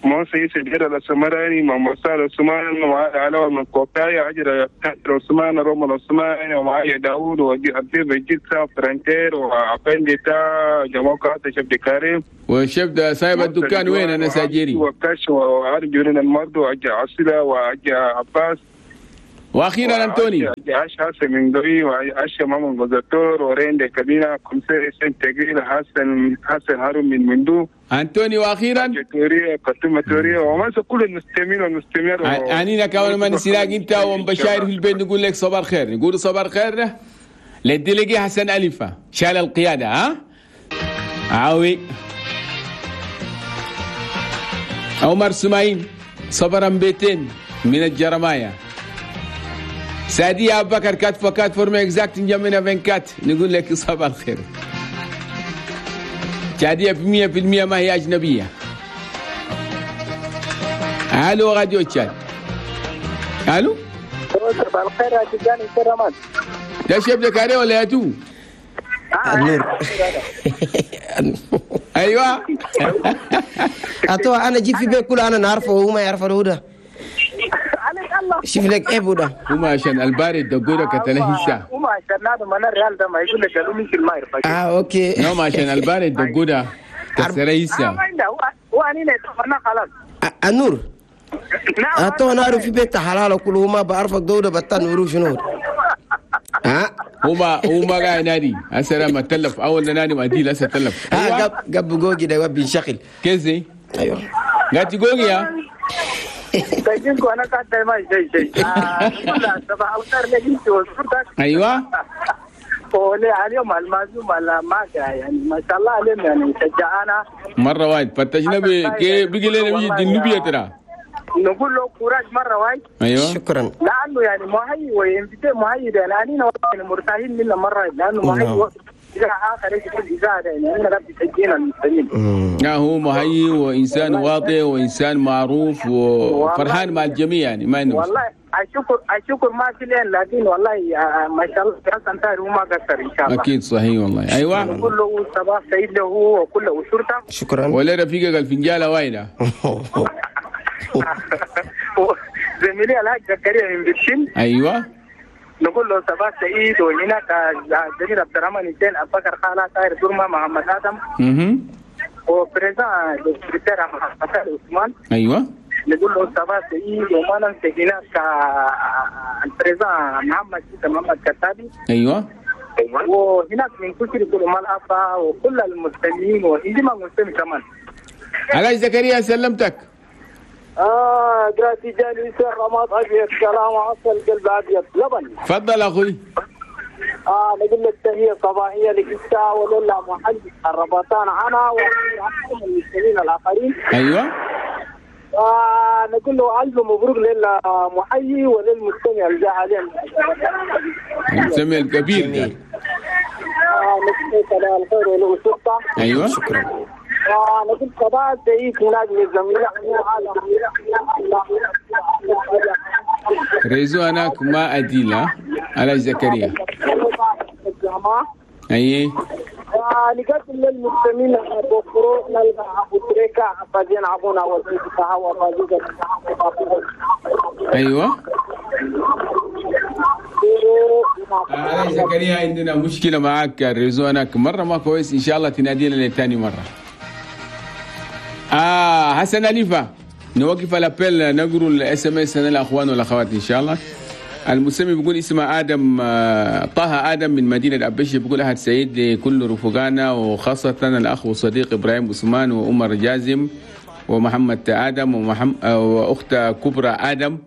[SPEAKER 8] موسى يوسف جرى السمراني محمد صالح عثمان وعلاء من كوكاي عجر عثمان روما العثماني ومعايا داوود وعبد الجيسا فرنتير وعفندي تا جماعة شبد كريم
[SPEAKER 1] والشبد صاحب الدكان وين انا ساجيري
[SPEAKER 8] وكاش وعارف جورين المرض وعجا عسلة وعجا عباس
[SPEAKER 1] واخيرا انتوني
[SPEAKER 8] عاش حسن من قوي وعاش ماما بزتور ورين كبيرة كمسة سن تقيل حسن حسن هارون من مندو
[SPEAKER 1] انتوني واخيرا
[SPEAKER 8] توريا قتمة توريا وما كل المستمعين والمستمعات
[SPEAKER 1] عنينا كمان ما نسيناك انت ومبشاير في البيت نقول لك صباح الخير نقول صباح الخير للديليجي حسن ألفة شال القيادة ها عاوي عمر سماعين صبرا بيتين من الجرمايا سعدية أبو بكر كات فكات فورمي اكزاكت نجمنا فين كات نقول لك صباح الخير سعدية في مية في المية ما هي أجنبية. ألو راديو تشاد. ألو
[SPEAKER 6] صباح الخير يا تجاني كرمان.
[SPEAKER 1] ده شيف زكريا ولا يا تو؟
[SPEAKER 2] النور.
[SPEAKER 1] ايوه
[SPEAKER 2] اتو انا جيت في بيت كله انا نعرفه وهو ما يعرفه هو ده. شوف لك ايه بودا
[SPEAKER 1] هما عشان البارد دقوله كتلهيسا
[SPEAKER 6] هما عشان هذا من الريال ده ما يقول لك قالوا مش ما يعرف.
[SPEAKER 2] اه اوكي
[SPEAKER 1] نعم عشان البارد دقوله كتلهيسا.
[SPEAKER 6] ما عنده هو هو انا خلاص
[SPEAKER 2] النور. اتو انا اعرف في بيت حلال كله ما بعرفك دوده بتان ورو شنو ها
[SPEAKER 1] هما هما قاعد نادي هسه لما تلف اول نادي ما دي لسه تلف.
[SPEAKER 2] ها قب قب جوجي ده بينشغل
[SPEAKER 1] كذي.
[SPEAKER 2] ايوه
[SPEAKER 1] قاعد جوجي يا
[SPEAKER 6] تجيكو انا قاعد ما شيء شيء. صباح الخير لك انت وصورتك.
[SPEAKER 1] ايوه
[SPEAKER 6] ولا اليوم المعزوم على ما يعني ما شاء الله عليهم يعني شجعنا
[SPEAKER 1] مرة واحد فتشنا بقي لنا بيجي النوبيه ترى
[SPEAKER 6] نقول له courage مرة واحد.
[SPEAKER 1] ايوه
[SPEAKER 2] شكرا
[SPEAKER 6] لانه يعني مهي و invité مهي ده لاننا يعني مرتاحين منه مرة لانه مهي اذا اخر شيء اذا يعني انا ربي سجينا المسلمين.
[SPEAKER 1] لا هو مهي وانسان واطي وانسان معروف وفرحان مع الجميع يعني ما انه
[SPEAKER 6] والله اشكر اشكر ما في لين لكن والله ما شاء الله حسن طاهر وما قصر ان شاء الله.
[SPEAKER 1] اكيد صحيح والله. ايوه
[SPEAKER 6] نقول له صباح سعيد له وكل اسرته.
[SPEAKER 2] شكرا
[SPEAKER 1] ولا رفيقك الفنجاله وايده.
[SPEAKER 6] زميلي الحاج زكريا من برشين.
[SPEAKER 1] ايوه
[SPEAKER 6] نقول له صباح سعيد. وهناك الزميل عبد الرحمن حسين ابو بكر خالة طاهر درما محمد ادم
[SPEAKER 1] اها
[SPEAKER 6] و président السكرتير محمد عثمان.
[SPEAKER 1] ايوه
[SPEAKER 6] نقول له صباح سعيد. وما ننسى هناك ال président محمد محمد كتابي.
[SPEAKER 1] ايوه
[SPEAKER 6] وهناك من كثر كل ملعبة وكل المستمعين وإنما المستمع كمان.
[SPEAKER 1] علاش زكريا سلمتك.
[SPEAKER 6] آه دراتي جاني يسير رماد أبيض كلام عسل قلب أبيض لبن.
[SPEAKER 1] تفضل أخوي.
[SPEAKER 6] آه نقول لك تحية صباحية لك أنت ولله محل الرباطان أنا والمستمعين الآخرين.
[SPEAKER 1] أيوه.
[SPEAKER 6] آه نقول له ألف مبروك للمحيي وللمستمع الجاهلين.
[SPEAKER 1] المستمع الكبير ده.
[SPEAKER 6] آه نقول صباح الخير ولأسرته.
[SPEAKER 1] أيوه.
[SPEAKER 2] شكرا.
[SPEAKER 6] آه نقول صباح سعيد هناك للزميل.
[SPEAKER 1] réseau هناك ما أديلة على زكريا. أي.
[SPEAKER 6] نقدم للمستمعين بوفرو نلقى أبو تريكة عبازين عبونا وزيد فهو وزيد.
[SPEAKER 1] أيوة. على زكريا عندنا مشكلة معاك ال réseau هناك مرة ما كويس، إن شاء الله تنادينا لتاني مرة. آه حسن أليفة نوقف ال appel نقرأ ال SMS للاخوان والاخوات ان شاء الله. المسمي بيقول اسمه ادم طه ادم من مدينة ابشي، بيقول احد سعيد لكل رفقانا وخاصة الاخ والصديق ابراهيم عثمان وعمر جازم ومحمد ادم ومحمد واخت كبرى ادم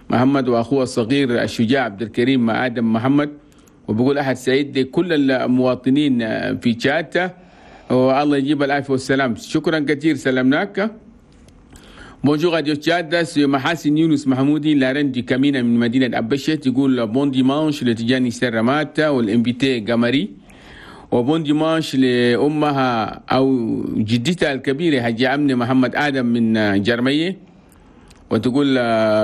[SPEAKER 1] محمد واخوه الصغير الشجاع عبد الكريم ادم محمد. وبيقول احد سعيد لكل المواطنين في تشاد والله يجيب العافية والسلام. شكرا كثير سلمناك. Bonjour Radio Tchad, c'est Mahassin Younous Mahmoudi, la reine du Kamina من مدينة أبشت، يقول bon dimanche لتجاني سرمات وال invité قمري، و bon dimanche لأمها أو جدتها الكبيرة حجة أمنة محمد آدم من جرمية، وتقول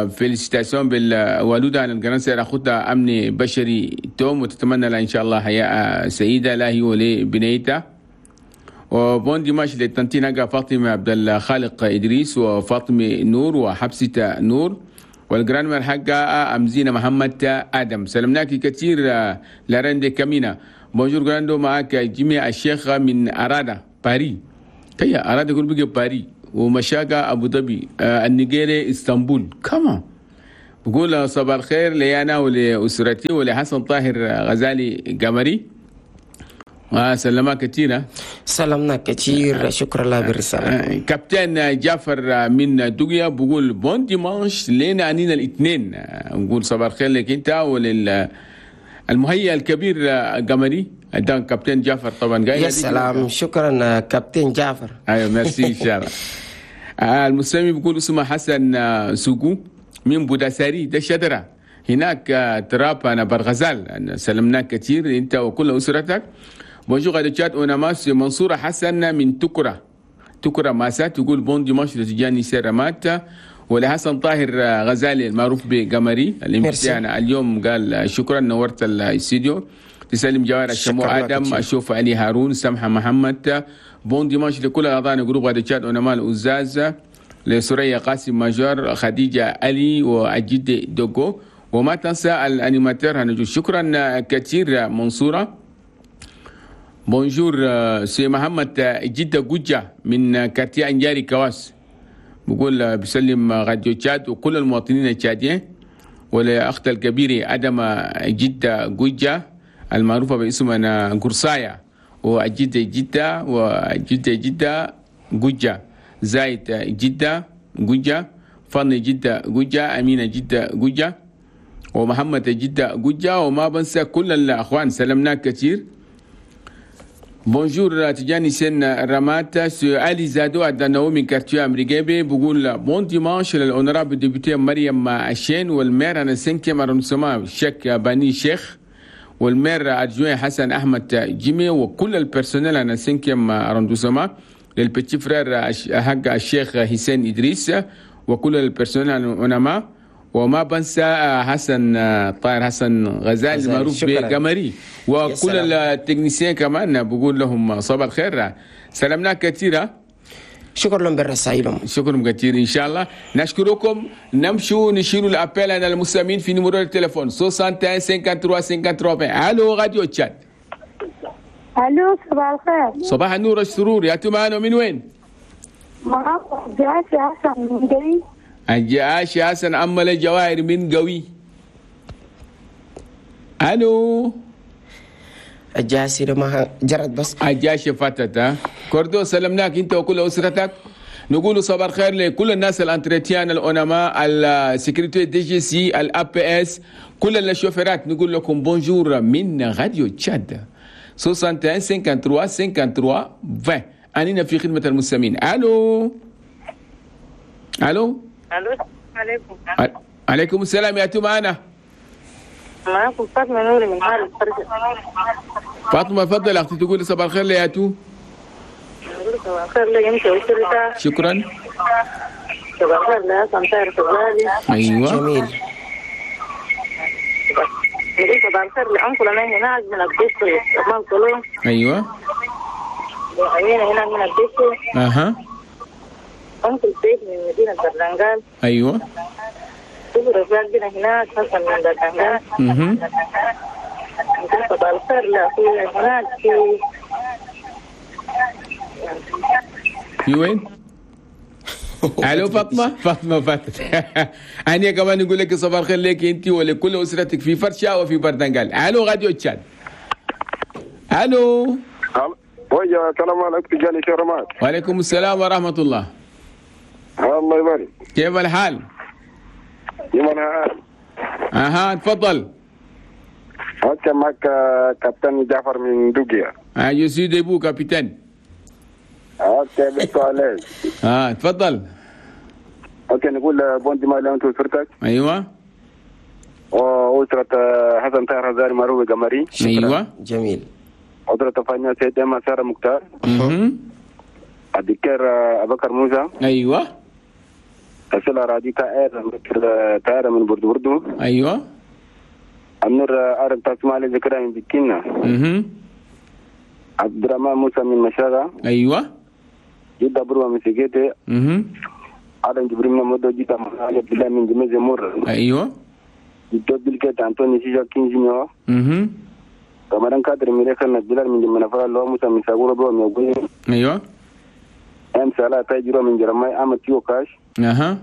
[SPEAKER 1] félicitations بالوالدة عن الجرانسير أخوتها أمنة بشري توم، وتتمنى لها إن شاء الله حياة سعيدة لا هي ولبنيتها. و bon dimanche لل tantine فاطمة عبد الخالق إدريس وفاطمة نور وحبسة نور وال grand-mère حقها أمزينة محمد آدم. سلمناك كثير la reine de كامينا. bonjour grando معك جميع الشيخ من أرادا باري، كيا أرادا يقول بقى باري ومشاقة أبو ظبي النيجيري اسطنبول كمان. بقول صباح الخير لي انا ولاسرتي ولحسن طاهر غزالي قمري. سلمنا كثير.
[SPEAKER 2] سلمنا كثير، شكرا لله بالرسالة.
[SPEAKER 1] كابتن جعفر من دوغيا بقول bon dimanche لينا انينا الاثنين. نقول صباح الخير لك انت ولل المهيئ الكبير قمري ده كابتن جعفر طبعا.
[SPEAKER 2] يا سلام، شكرا كابتن جعفر.
[SPEAKER 1] ايوه ميرسي ان شاء الله. المستمع بيقول اسمه حسن سوقو من بوداساري ده شجرة هناك تراب انا برغزال. سلمناك كثير انت وكل اسرتك. bonjour راديو تشاد اوناماس منصورة حسن من تكرة تكرة ماسات يقول bon dimanche لتجاني سيرامات ولحسن طاهر غزالي المعروف بقمري الامتحان اليوم. قال شكرا نورت الاستديو. تسلم جوار الشمو ادم اشوف علي هارون سمحه محمد. bon dimanche لكل اعضاء groupe راديو تشاد اونما الأزاز لسوريا قاسم ماجور خديجة علي واجد دوغو وما تنسى ال animateur هنجو. شكرا كثير منصورة. bonjour سي محمد جدة جوجة من quartier انجاري كواس بقول بسلم راديو تشاد وكل المواطنين التشاديين ولأخت الكبير أدم جدة جوجة المعروفة باسم أنا قرصايا وجدة جدة وجدة جدة جوجة زايد جدة جوجة فن جدة جوجة أمينة جدة جوجة ومحمد جدة جوجة وما بنسى كل الأخوان. سلمنا كثير. bonjour تجاني سن رمات علي زادو عدناو من quartier امريكابي بقول bon dimanche لل honorable députée مريم عشين وال maire انا cinquième arrondissement شيخ بني شيخ وال maire adjoint حسن احمد جيمي وكل ال personnel انا cinquième arrondissement لل petit frère حق الشيخ حسين ادريس وكل ال personnel اونما وما بنسى حسن طاهر حسن غزال المعروف بقمري وكل ال techniciens كمان بقول لهم صباح الخير. سلامنا كثيرة.
[SPEAKER 2] شكرا لهم بالرسائل.
[SPEAKER 1] شكرا كثير ان شاء الله. نشكركم. نمشوا نشيلوا ال appel على المستمعين في numéro التليفون واحد وستين ثلاثة وستين ثلاثة وستين. الو راديو تشاد.
[SPEAKER 3] الو صباح الخير.
[SPEAKER 1] صباح النور والسرور. يا معنا من وين؟
[SPEAKER 3] معاكم جاسي حسن من قوي.
[SPEAKER 1] الجاشي حسن أمل الجواهر من قوي. الو
[SPEAKER 2] الجاسي ما جرت بس
[SPEAKER 1] الجاشي فاتت. ها كوردو سلمناك انت وكل اسرتك. نقول صباح الخير لكل الناس ال entretien الأونما ال sécurité DGC ال APS كل الشوفيرات. نقول لكم bonjour من راديو تشاد واحد وستين ثلاثة وستين ثلاثة وستين عشرين. أننا في خدمة المستمعين. الو الو
[SPEAKER 9] الو عليكم.
[SPEAKER 1] عليكم السلام. يا معنا
[SPEAKER 9] معاكم فاطمة نوري من حارة الفرشة.
[SPEAKER 1] فاطمة تفضل اختي تقولي صباح الخير يا تو.
[SPEAKER 9] صباح الخير لك انت واسرتك.
[SPEAKER 1] شكرا.
[SPEAKER 9] صباح الخير لحسن طاهر غزالي.
[SPEAKER 1] ايوه
[SPEAKER 2] جميل.
[SPEAKER 9] صباح الخير لأنكل انا هناك من الدستري مال كلهم.
[SPEAKER 1] ايوه
[SPEAKER 9] وأمينة هناك من الدستري.
[SPEAKER 1] اها
[SPEAKER 9] أنكل سيف من مدينة برلنغال.
[SPEAKER 1] أيوة.
[SPEAKER 9] كل رجال هناك حسن من برلنغال.
[SPEAKER 1] اها.
[SPEAKER 9] صباح الخير لأخويا هناك في
[SPEAKER 1] في وين؟ الو فاطمة. فاطمة فاتت. أنا كمان نقول لك صباح الخير لك أنت ولكل أسرتك في فرشة وفي بردنغال. الو راديو تشاد. الو.
[SPEAKER 4] ويا السلام عليكم تجاني شرمات.
[SPEAKER 1] وعليكم السلام ورحمة الله.
[SPEAKER 4] الله يبارك.
[SPEAKER 1] كيف الحال؟
[SPEAKER 4] يمنا.
[SPEAKER 1] اها تفضل.
[SPEAKER 4] okay معك كابتن جعفر من دوغيا.
[SPEAKER 1] اه je suis debout capitaine.
[SPEAKER 4] okay بالتالي.
[SPEAKER 1] اه تفضل.
[SPEAKER 4] okay نقول bon dimanche انت واسرتك.
[SPEAKER 1] ايوه.
[SPEAKER 4] واسرة حسن طاهر غزالي معروف قمري.
[SPEAKER 1] ايوه
[SPEAKER 2] جميل.
[SPEAKER 4] أسرة فانيا سيد سارة مختار.
[SPEAKER 1] اها.
[SPEAKER 4] الدكتور أبو بكر موسى.
[SPEAKER 1] ايوه.
[SPEAKER 4] أسئلة رادي تائر تائر من بردو بردو.
[SPEAKER 1] ايوه.
[SPEAKER 4] النور عرب تسمع ذكرى من بكينا.
[SPEAKER 1] اها.
[SPEAKER 4] عبد الرحمن موسى من مشاغة.
[SPEAKER 1] ايوه.
[SPEAKER 4] جدة بروة من سجيتي.
[SPEAKER 1] اها.
[SPEAKER 4] آدم جبريل من مدو جدة عبد الله من جميز مور.
[SPEAKER 1] ايوه.
[SPEAKER 4] جدة بلكت أنتوني سيجا كينجينيو.
[SPEAKER 1] اها.
[SPEAKER 4] كمان كادر ميريخ بلال من جمنا فرا لو موسى من ساغورو برو من
[SPEAKER 1] ايوه.
[SPEAKER 4] ام سالا تاجرو من جرماي احمد تيو كاش.
[SPEAKER 1] اها.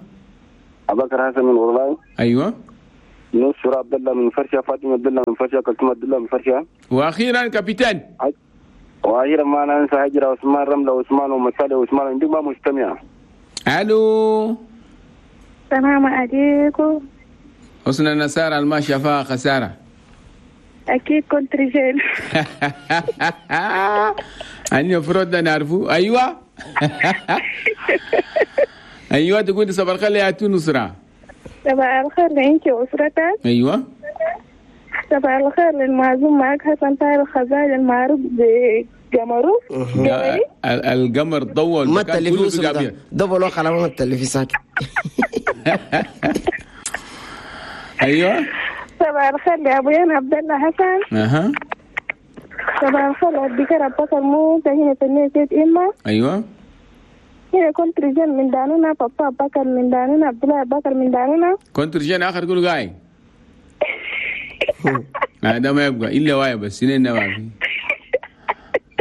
[SPEAKER 4] ابو بكر حسن من غرلاي.
[SPEAKER 1] ايوه.
[SPEAKER 4] نصر عبد الله من فرشة، فاطمة عبد الله من فرشة، كلثوم عبد الله من فرشة.
[SPEAKER 1] واخيرا كابتن.
[SPEAKER 4] واخيرا ما ننسى هجرة عثمان رملة عثمان ومسالة عثمان عندي ما مستمع.
[SPEAKER 1] الو
[SPEAKER 3] السلام عليكم.
[SPEAKER 1] حسن النسارة الما شافها خسارة.
[SPEAKER 3] أكيد كنت رجال.
[SPEAKER 1] أنا المفروض نعرفه. أيوة. أيوة تقول صباح الخير يا نصرة.
[SPEAKER 3] صباح الخير لأنت وأسرتك.
[SPEAKER 1] أيوة.
[SPEAKER 3] صباح الخير للمعزوم معك حسن طاهر الخزاج المعروف بجمروف.
[SPEAKER 1] القمر ضوء
[SPEAKER 2] ما تلفي ده دبلوا خلاص ما تلفي ساكت.
[SPEAKER 1] ايوه.
[SPEAKER 3] صباح الخير لابويا عبد الله حسن.
[SPEAKER 1] اها.
[SPEAKER 3] صباح الخير للدكتور ابو بكر موسى هنا في النيسيت اما.
[SPEAKER 1] ايوه.
[SPEAKER 3] هنا كنت رجال من دانونا، بابا بكر من دانونا، عبد الله بكر من دانونا.
[SPEAKER 1] كنت رجال اخر كله قاعد. هذا ما يبقى الا واي بس سنين ما في.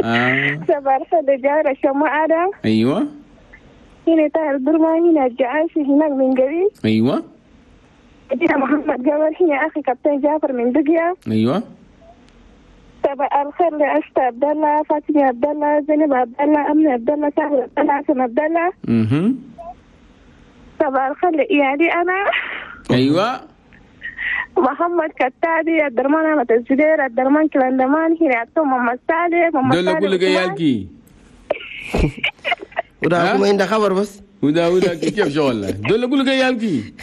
[SPEAKER 1] اه.
[SPEAKER 3] صباح الخير لجارة شماء آدم.
[SPEAKER 1] ايوه.
[SPEAKER 3] هنا طاهر درما، هنا الجعاشي هناك من قريب.
[SPEAKER 1] ايوه.
[SPEAKER 3] هنا محمد قمر، هنا اخي كابتن جعفر من دقيا.
[SPEAKER 1] ايوه.
[SPEAKER 3] صباح الخير لأشتا عبد الله، فاطمة عبد الله، زينب عبد الله، أمنة عبد الله، سهل عبد الله، حسن عبد الله.
[SPEAKER 1] اها.
[SPEAKER 3] صباح الخير لإيالي انا.
[SPEAKER 1] ايوه.
[SPEAKER 3] محمد كتابي، الدرمان أحمد الزبير، الدرمان كلاندمان، هنا عطوم محمد سالم، محمد
[SPEAKER 1] سالم. دول أقول لك عيالكي.
[SPEAKER 2] وده ما عنده خبر بس.
[SPEAKER 1] وده وده كيف شغله؟ دول أقول لك عيالكي.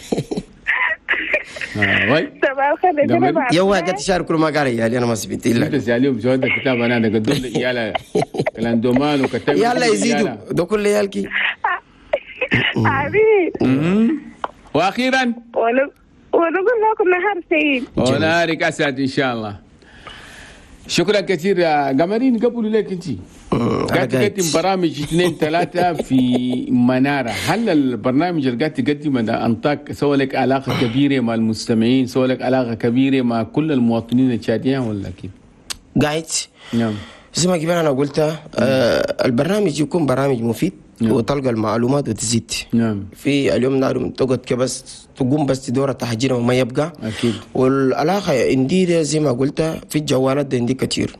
[SPEAKER 1] آه
[SPEAKER 3] صباح الخير.
[SPEAKER 2] يا واحد تشارك كل ما قال عيالي أنا ما سبت إلا.
[SPEAKER 1] أنت سأليهم شو هذا الكتاب أنا أنا قدول عيال كلاندمان وكتابي.
[SPEAKER 2] يلا يزيدوا ده كل عيالكي.
[SPEAKER 3] حبيبي.
[SPEAKER 1] وأخيرا.
[SPEAKER 3] ونقول لكم نهار سعيد.
[SPEAKER 1] ونهارك أسعد إن شاء الله. شكرا كثير يا قمرين. قبلوا لك أنت قاعد تقدم برامج اثنين ثلاثة في منارة. هل البرنامج اللي قاعد تقدمه ده أنطاك سوى لك علاقة كبيرة مع المستمعين، سوى لك علاقة كبيرة مع كل المواطنين التشاديين ولا كيف؟
[SPEAKER 2] قاعد
[SPEAKER 1] نعم
[SPEAKER 2] زي ما كبير أنا قلتها، آه البرنامج يكون برامج مفيد. نعم. وتلقى المعلومات وتزيد.
[SPEAKER 1] نعم.
[SPEAKER 2] في اليوم نار تقعد كبس تقوم بس تدور تحجير وما يبقى.
[SPEAKER 1] أكيد.
[SPEAKER 2] والعلاقة عندي زي ما قلت في الجوالات ده عندي كتير.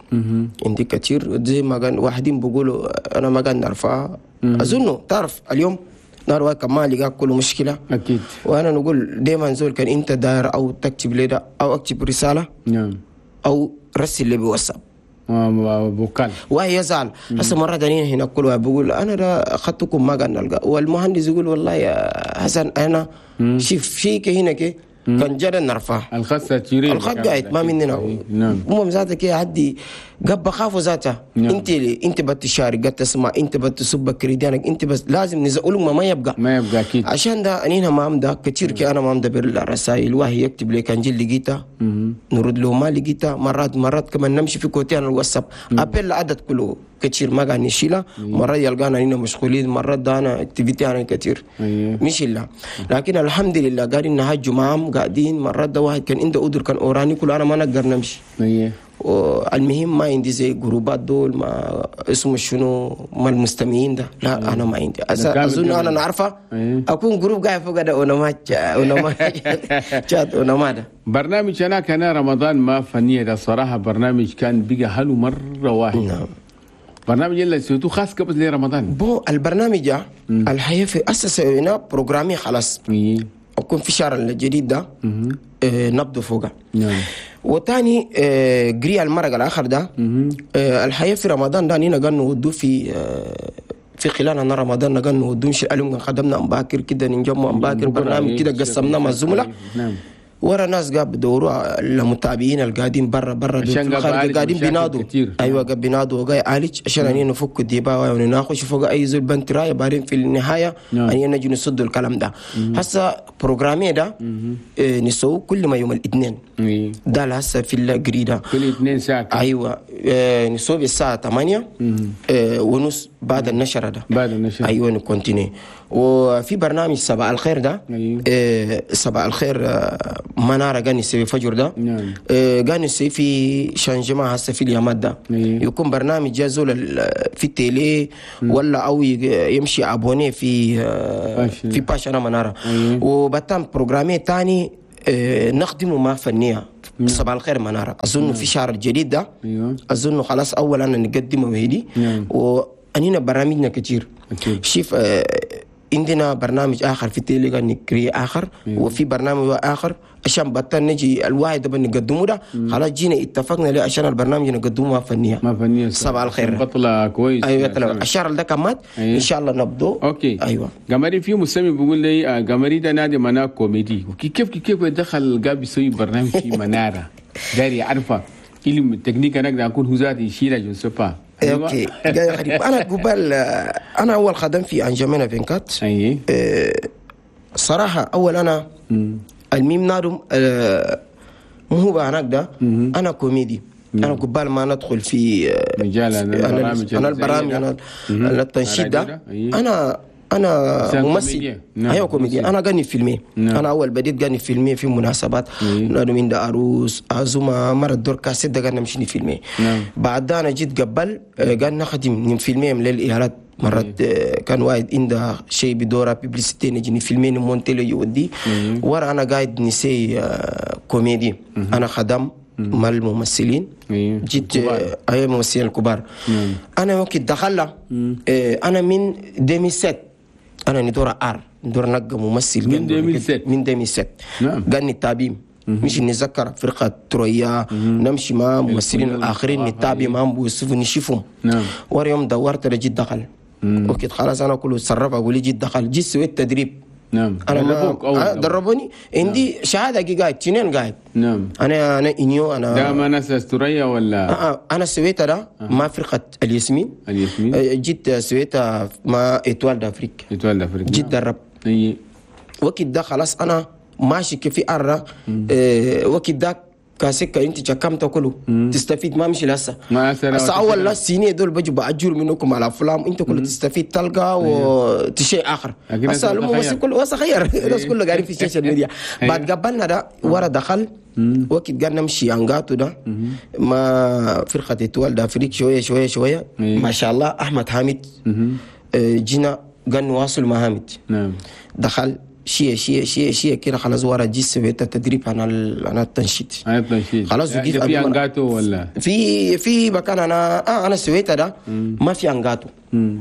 [SPEAKER 2] عندي كتير زي ما كان واحدين بيقولوا أنا ما كان نرفعها. أظنه تعرف اليوم نار واحد ما لقى كل مشكلة.
[SPEAKER 1] أكيد.
[SPEAKER 2] وأنا نقول دايما زول كان أنت داير أو تكتب لي ده أو أكتب رسالة.
[SPEAKER 1] نعم.
[SPEAKER 2] أو رسل لي بواتساب.
[SPEAKER 1] بوكال
[SPEAKER 2] وهي يزعل. هسه مرة ثانية هنا كل واحد بيقول انا ده اخذتكم ما قاعد نلقى، والمهندس يقول والله يا حسن انا شوف شيك هنا كي كان جرى نرفع
[SPEAKER 1] الخط تيري
[SPEAKER 2] الخط قاعد ما مننا.
[SPEAKER 1] نعم.
[SPEAKER 2] المهم ذاتك يا عدي قب خافوا ذاتها.
[SPEAKER 1] نعم.
[SPEAKER 2] انت اللي انت بتشارك قد تسمع، انت بتصب كريدانك، انت بس لازم نزقلهم ما, ما يبقى
[SPEAKER 1] ما يبقى اكيد.
[SPEAKER 2] عشان ده انا ما عم ده كثير كي انا ما عم دبر الرسائل، وهي يكتب لي كان جيل لقيتها نرد له ما لقيتها. مرات مرات كمان نمشي في كوتين الواتساب ابل عدد كله كثير ما قاعد نشيلها. مرات يلقانا هنا مشغولين، مرات ده انا activity انا كثير مش الا، لكن الحمد لله قاعدين نهجوا معهم قاعدين. مرات ده واحد كان عنده قدر كان اوراني كله انا ما نقدر نمشي. والمهم ما عندي زي جروبات دول ما اسمه شنو ما المستمعين ده لا. انا ما عندي اظن انا نعرفه اكون group قاعد فوق ده وانا ما وانا ما شات وانا ما ده
[SPEAKER 1] برنامج. انا كان رمضان ما فنية ده صراحة برنامج كان بقى حلو مرة واحد.
[SPEAKER 2] نعم.
[SPEAKER 1] برنامج اللي سويته خاص قبل لرمضان
[SPEAKER 2] bon البرنامج الحقيقة في اسس هنا programmé خلاص. اكون في شهر الجديد ده آه نبدو فوقه.
[SPEAKER 1] نعم.
[SPEAKER 2] وتاني آه جري المرق الاخر ده آه الحقيقة في رمضان ده نينا قالوا ودو في آه في خلال رمضان قالوا ودو مش اليوم خدمنا امباكر كده نجمع امباكر برنامج كده قسمناه مع الزملاء.
[SPEAKER 1] نعم.
[SPEAKER 2] ورا ناس قاب بدوروا المتابعين القاعدين برا برا قاعدين بينادوا. ايوه قاب بينادوا وقاي عالج عشان اني نفك الديباوه ونناقش فوق اي زول بنت رايه بعدين في النهاية اني نجي نسد الكلام ده. هسه programmé ده إيه نسوي كل ما يوم الاثنين ده هسه في الجريدة
[SPEAKER 1] كل اثنين ساعة.
[SPEAKER 2] ايوه إيه نسوي الساعة ثمانية إيه ونص بعد النشرة ده
[SPEAKER 1] بعد النشرة
[SPEAKER 2] ايوه ن continuer. وفي برنامج صباح الخير ده.
[SPEAKER 1] أيوه.
[SPEAKER 2] إيه صباح الخير منارة قاعد نسوي فجر ده.
[SPEAKER 1] نعم.
[SPEAKER 2] إيه قاعد نسوي في changement هسه في اليامات ده.
[SPEAKER 1] أيوه.
[SPEAKER 2] يكون برنامج جازول في ال télé ولا او يمشي abonné في في page انا منارة.
[SPEAKER 1] أيوه.
[SPEAKER 2] وبتم programmé تاني آه، نخدمه مع فنية صباح الخير منارة اظن في شهر الجديد ده
[SPEAKER 1] ايوه
[SPEAKER 2] اظن خلاص اول انا نقدمه هدي
[SPEAKER 1] نعم.
[SPEAKER 2] وانينا برامجنا كتير
[SPEAKER 1] أكيد.
[SPEAKER 2] شوف آه، عندنا برنامج اخر في تيليجرام نكري اخر
[SPEAKER 1] أيوة.
[SPEAKER 2] وفي برنامج اخر عشان بطل نجي الواحد ده بنقدمه ده خلاص جينا اتفقنا ليه عشان البرنامج نقدمه مع فنية
[SPEAKER 1] ما فنية
[SPEAKER 2] صباح الخير.
[SPEAKER 1] بطلة كويس
[SPEAKER 2] ايوه طلع الشهر ده كمان
[SPEAKER 1] أيوة.
[SPEAKER 2] ان شاء الله نبدو
[SPEAKER 1] okay
[SPEAKER 2] ايوه
[SPEAKER 1] قمري في مستمع بيقول لي آه، قمري ده نادي منار كوميدي وكيف كيف دخل قاب يسوي برنامج في منارة داري عارفه علم التكنيك انا اقدر اكون هو ذاتي يشيلها je sais pas
[SPEAKER 2] okay جاي غريب انا قبل آه، انا اول خدم في انجمينا vingt-quatre
[SPEAKER 1] اي
[SPEAKER 2] آه، صراحة اول انا الميم نادم آه، مو هو هناك ده انا كوميدي انا قبال ما ندخل في آه،
[SPEAKER 1] مجال
[SPEAKER 2] في-
[SPEAKER 1] أنا البرامج
[SPEAKER 2] انا البرامج انا أنا التنشيط
[SPEAKER 1] الراديو
[SPEAKER 2] ده
[SPEAKER 1] ده، أيه.
[SPEAKER 2] انا انا
[SPEAKER 1] إنسان
[SPEAKER 2] ممثل
[SPEAKER 1] كوميديا. نعم،
[SPEAKER 2] ايوه كوميدي
[SPEAKER 1] ممثل.
[SPEAKER 2] انا غني فيلمي
[SPEAKER 1] نعم.
[SPEAKER 2] انا اول بديت غني فيلمي في مناسبات
[SPEAKER 1] أيه.
[SPEAKER 2] نادم من ده عروس عزومة مرة دور كاسيت ده غني نمشي فيلمي
[SPEAKER 1] نعم.
[SPEAKER 2] بعد انا جيت قبل آه، قال نخدم فيلمي للايالات مرات آه، كان واحد عنده شيء بدورة publicité نجي نفيلمي نمونتي له يودي ورا انا قاعد نسي آه، كوميدي انا خدم مع الممثلين
[SPEAKER 1] أيوه.
[SPEAKER 2] جيت آه، ايوه الممثلين الكبار انا وقت دخل انا من ألفين وسبعة انا ندور ار ندور نقى ممثل
[SPEAKER 1] من
[SPEAKER 2] قال
[SPEAKER 1] ألفين وسبعة.
[SPEAKER 2] من ألفين وسبعة
[SPEAKER 1] نعم.
[SPEAKER 2] قال التابيم مش نتذكر فرقة ترويا نمشي مع ممثلين الآخرين نتابع معهم بيوسف نشوفهم
[SPEAKER 1] نعم.
[SPEAKER 2] ورا يوم دورت جيت دخل وقت خلاص انا كله اتصرف اقول لي جيت دخل جيت سويت تدريب
[SPEAKER 1] نعم
[SPEAKER 2] انا ما
[SPEAKER 1] دربوك أول
[SPEAKER 2] آه، دربوني عندي شهادة جي قاعد تنين قاعد
[SPEAKER 1] نعم
[SPEAKER 2] انا انا انيو انا
[SPEAKER 1] ده ما ناس استوريا ولا
[SPEAKER 2] آه آه، انا سويتها ده مع فرقه الياسمين
[SPEAKER 1] الياسمين
[SPEAKER 2] آه، جيت سويتها مع Étoile d'Afrique
[SPEAKER 1] Étoile d'Afrique
[SPEAKER 2] جيت درب
[SPEAKER 1] اي
[SPEAKER 2] وقت ده خلاص انا ماشي كيف ارى آه، وقت ده كاسكة انت كم تاكله تستفيد ما مشي لسه
[SPEAKER 1] ما هسه
[SPEAKER 2] هسه اول لا سيني دول بجوا باجر منكم على افلام انت كله تستفيد تلقى وشيء اخر
[SPEAKER 1] لكن
[SPEAKER 2] هسه
[SPEAKER 1] هسه
[SPEAKER 2] الممثل
[SPEAKER 1] تخير.
[SPEAKER 2] كله هسه خير الناس كله قاعدين في ال social media بعد قبلنا ده ورا دخل وقت قال نمشي انقاتو ده ما فرقه Étoile d'Afrique شوية شوية شوية
[SPEAKER 1] أيوه.
[SPEAKER 2] ما شاء الله احمد حامد آه، جينا قال نواصل مع حامد
[SPEAKER 1] نعم
[SPEAKER 2] دخل شيء شيء شيء شيء كده خلاص ورا جي سويت التدريب انا ال- انا التنشيط
[SPEAKER 1] هاي التنشيط
[SPEAKER 2] خلاص
[SPEAKER 1] ده
[SPEAKER 2] وقف
[SPEAKER 1] في
[SPEAKER 2] قبل ما-
[SPEAKER 1] انقاتو ولا
[SPEAKER 2] في في مكان انا آه انا سويتها ده ما في انقاتو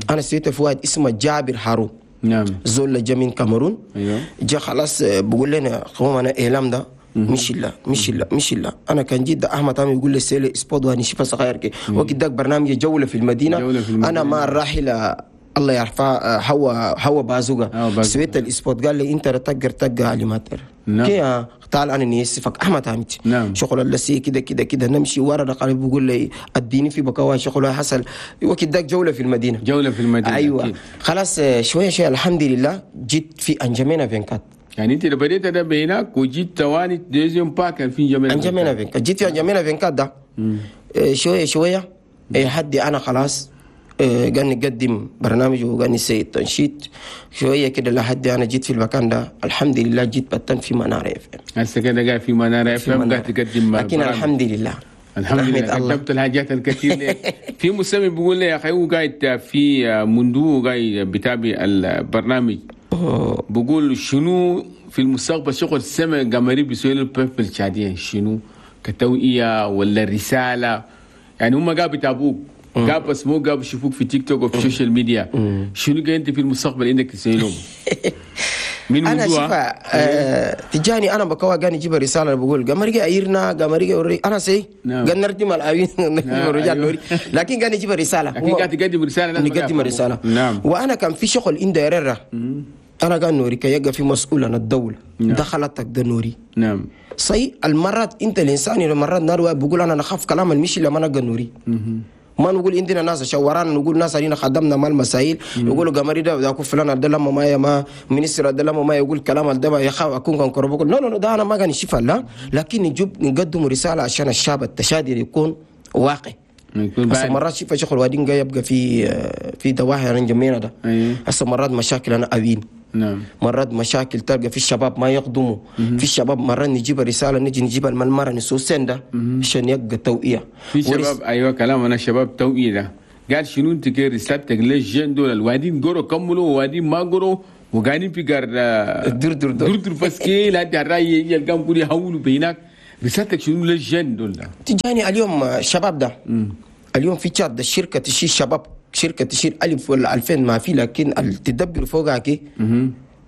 [SPEAKER 2] انا سويته في واحد اسمه جابر هارو
[SPEAKER 1] نعم
[SPEAKER 2] زول جا من كاميرون
[SPEAKER 1] ايوه
[SPEAKER 2] جا خلاص آه، بقول لنا قوم انا اعلام ده مش لا مش لا مش لا انا كان جد احمد عامر يقول لي سيلي spot وانا شوفها صغير كي وقت داك برنامج جولة في المدينة
[SPEAKER 1] جولة في المدينة.
[SPEAKER 2] انا مع الراحلة الله يرفع هو هو بازوغا
[SPEAKER 1] هوا بازوغا.
[SPEAKER 2] سويت ال spot قال لي انت تقدر تقع animateur
[SPEAKER 1] نعم.
[SPEAKER 2] كي آه، تعال انا نيسفك احمد حامد
[SPEAKER 1] نعم.
[SPEAKER 2] شغل اللسي كده كده كده نمشي ورا ده قال بيقول لي اديني في بكوا شغل حصل وقت داك جولة في المدينة
[SPEAKER 1] جولة في المدينة
[SPEAKER 2] ايوه
[SPEAKER 1] أكيد.
[SPEAKER 2] خلاص آه، شوية شوية الحمد لله جيت في انجمينا vingt-quatre
[SPEAKER 1] يعني انت لو بديت ده بهناك وجيت تواني deuxième pas كان في جميع
[SPEAKER 2] انجمينا vingt-quatre جيت في انجمينا vingt-quatre ده آه، شوية شوية آه، حدي انا خلاص آه، قال نقدم برنامج وقال نسوي تنشيط شوية كده لحد انا جيت في المكان ده الحمد لله جيت بتن في منارة FM
[SPEAKER 1] هسه كده قاعد في منارة F
[SPEAKER 2] في
[SPEAKER 1] M
[SPEAKER 2] منارة.
[SPEAKER 1] قاعد تقدم
[SPEAKER 2] لكن
[SPEAKER 1] برامج.
[SPEAKER 2] الحمد لله
[SPEAKER 1] الحمد
[SPEAKER 2] نحمد
[SPEAKER 1] لله
[SPEAKER 2] الله.
[SPEAKER 1] قدمت الحاجات الكثير لك في مستمع بيقول لي يا اخي هو قاعد في مندو قاعد بتابع البرنامج بقول شنو في المستقبل شغل السمع قمري بيسوي له peuple التشاديه شنو كتوعيه ولا رسالة يعني هم قاعد بيتابعوك قاعد بس مو قاعد بيشوفوك في تيك توك وفي ال social media شنو قاعد انت في المستقبل عندك تسوي لهم من
[SPEAKER 2] انا
[SPEAKER 1] موضوع
[SPEAKER 2] شوفها آه تجاني انا بكوا قاني يجيب رسالة بقول قمري ايرنا قمري وري انا سي
[SPEAKER 1] نعم.
[SPEAKER 2] قال نردم العين
[SPEAKER 1] نعم،
[SPEAKER 2] الرجال
[SPEAKER 1] أيوه.
[SPEAKER 2] نوري لكن قال يجيب رسالة
[SPEAKER 1] لكن قاعد تقدم رسالة لازم
[SPEAKER 2] نقدم
[SPEAKER 1] يفهموا.
[SPEAKER 2] رسالة
[SPEAKER 1] نعم
[SPEAKER 2] وانا كان في شغل عند يرى انا قال نوري كي يبقى في مسؤول عن الدولة
[SPEAKER 1] نعم.
[SPEAKER 2] دخلتك ده نوري
[SPEAKER 1] نعم
[SPEAKER 2] صحيح المرات انت الانسان المرات نار بقول انا نخاف كلام المشي لما انا نوري ما نقول عندنا ناس شورانا نقول ناس علينا خدمنا مال المسائل يقولوا قمري ده ده فلان ده لما ما يا ما ministre ده لما ما يقول كلام ده ما يخاف اكون كان كربوك no no no ده انا ما كان شفا لا لكن نجيب نقدم رسالة عشان الشعب التشادي يكون واقع
[SPEAKER 1] يكون
[SPEAKER 2] هسه
[SPEAKER 1] بعد
[SPEAKER 2] مرات شوف شغل وادين جاي يبقى في في دواهي انا جميلة ده
[SPEAKER 1] أيوه.
[SPEAKER 2] هسه مرات مشاكل انا أبين
[SPEAKER 1] نعم
[SPEAKER 2] مرات مشاكل تلقى في الشباب ما يقدموا في الشباب مرات نجيب رسالة نجي نجيب المرة نسوسين ده عشان يبقى توعيه
[SPEAKER 1] في شباب ايوه كلام انا شباب توعيه ده قال شنو انت كي رسالتك لل jeunes دول الوادين قروا كملوا ووادين ما قروا وقاعدين في قار
[SPEAKER 2] در در در
[SPEAKER 1] در بس كي لا الراي يلقاهم كل يهولوا بهناك. رسالتك شنو لل jeunes دول؟
[SPEAKER 2] تجاني اليوم الشباب ده اليوم في تشاد الشركة تشيل شباب، شركة تشيل ألف ولا ألفين ما في، لكن تدبر فوقها كي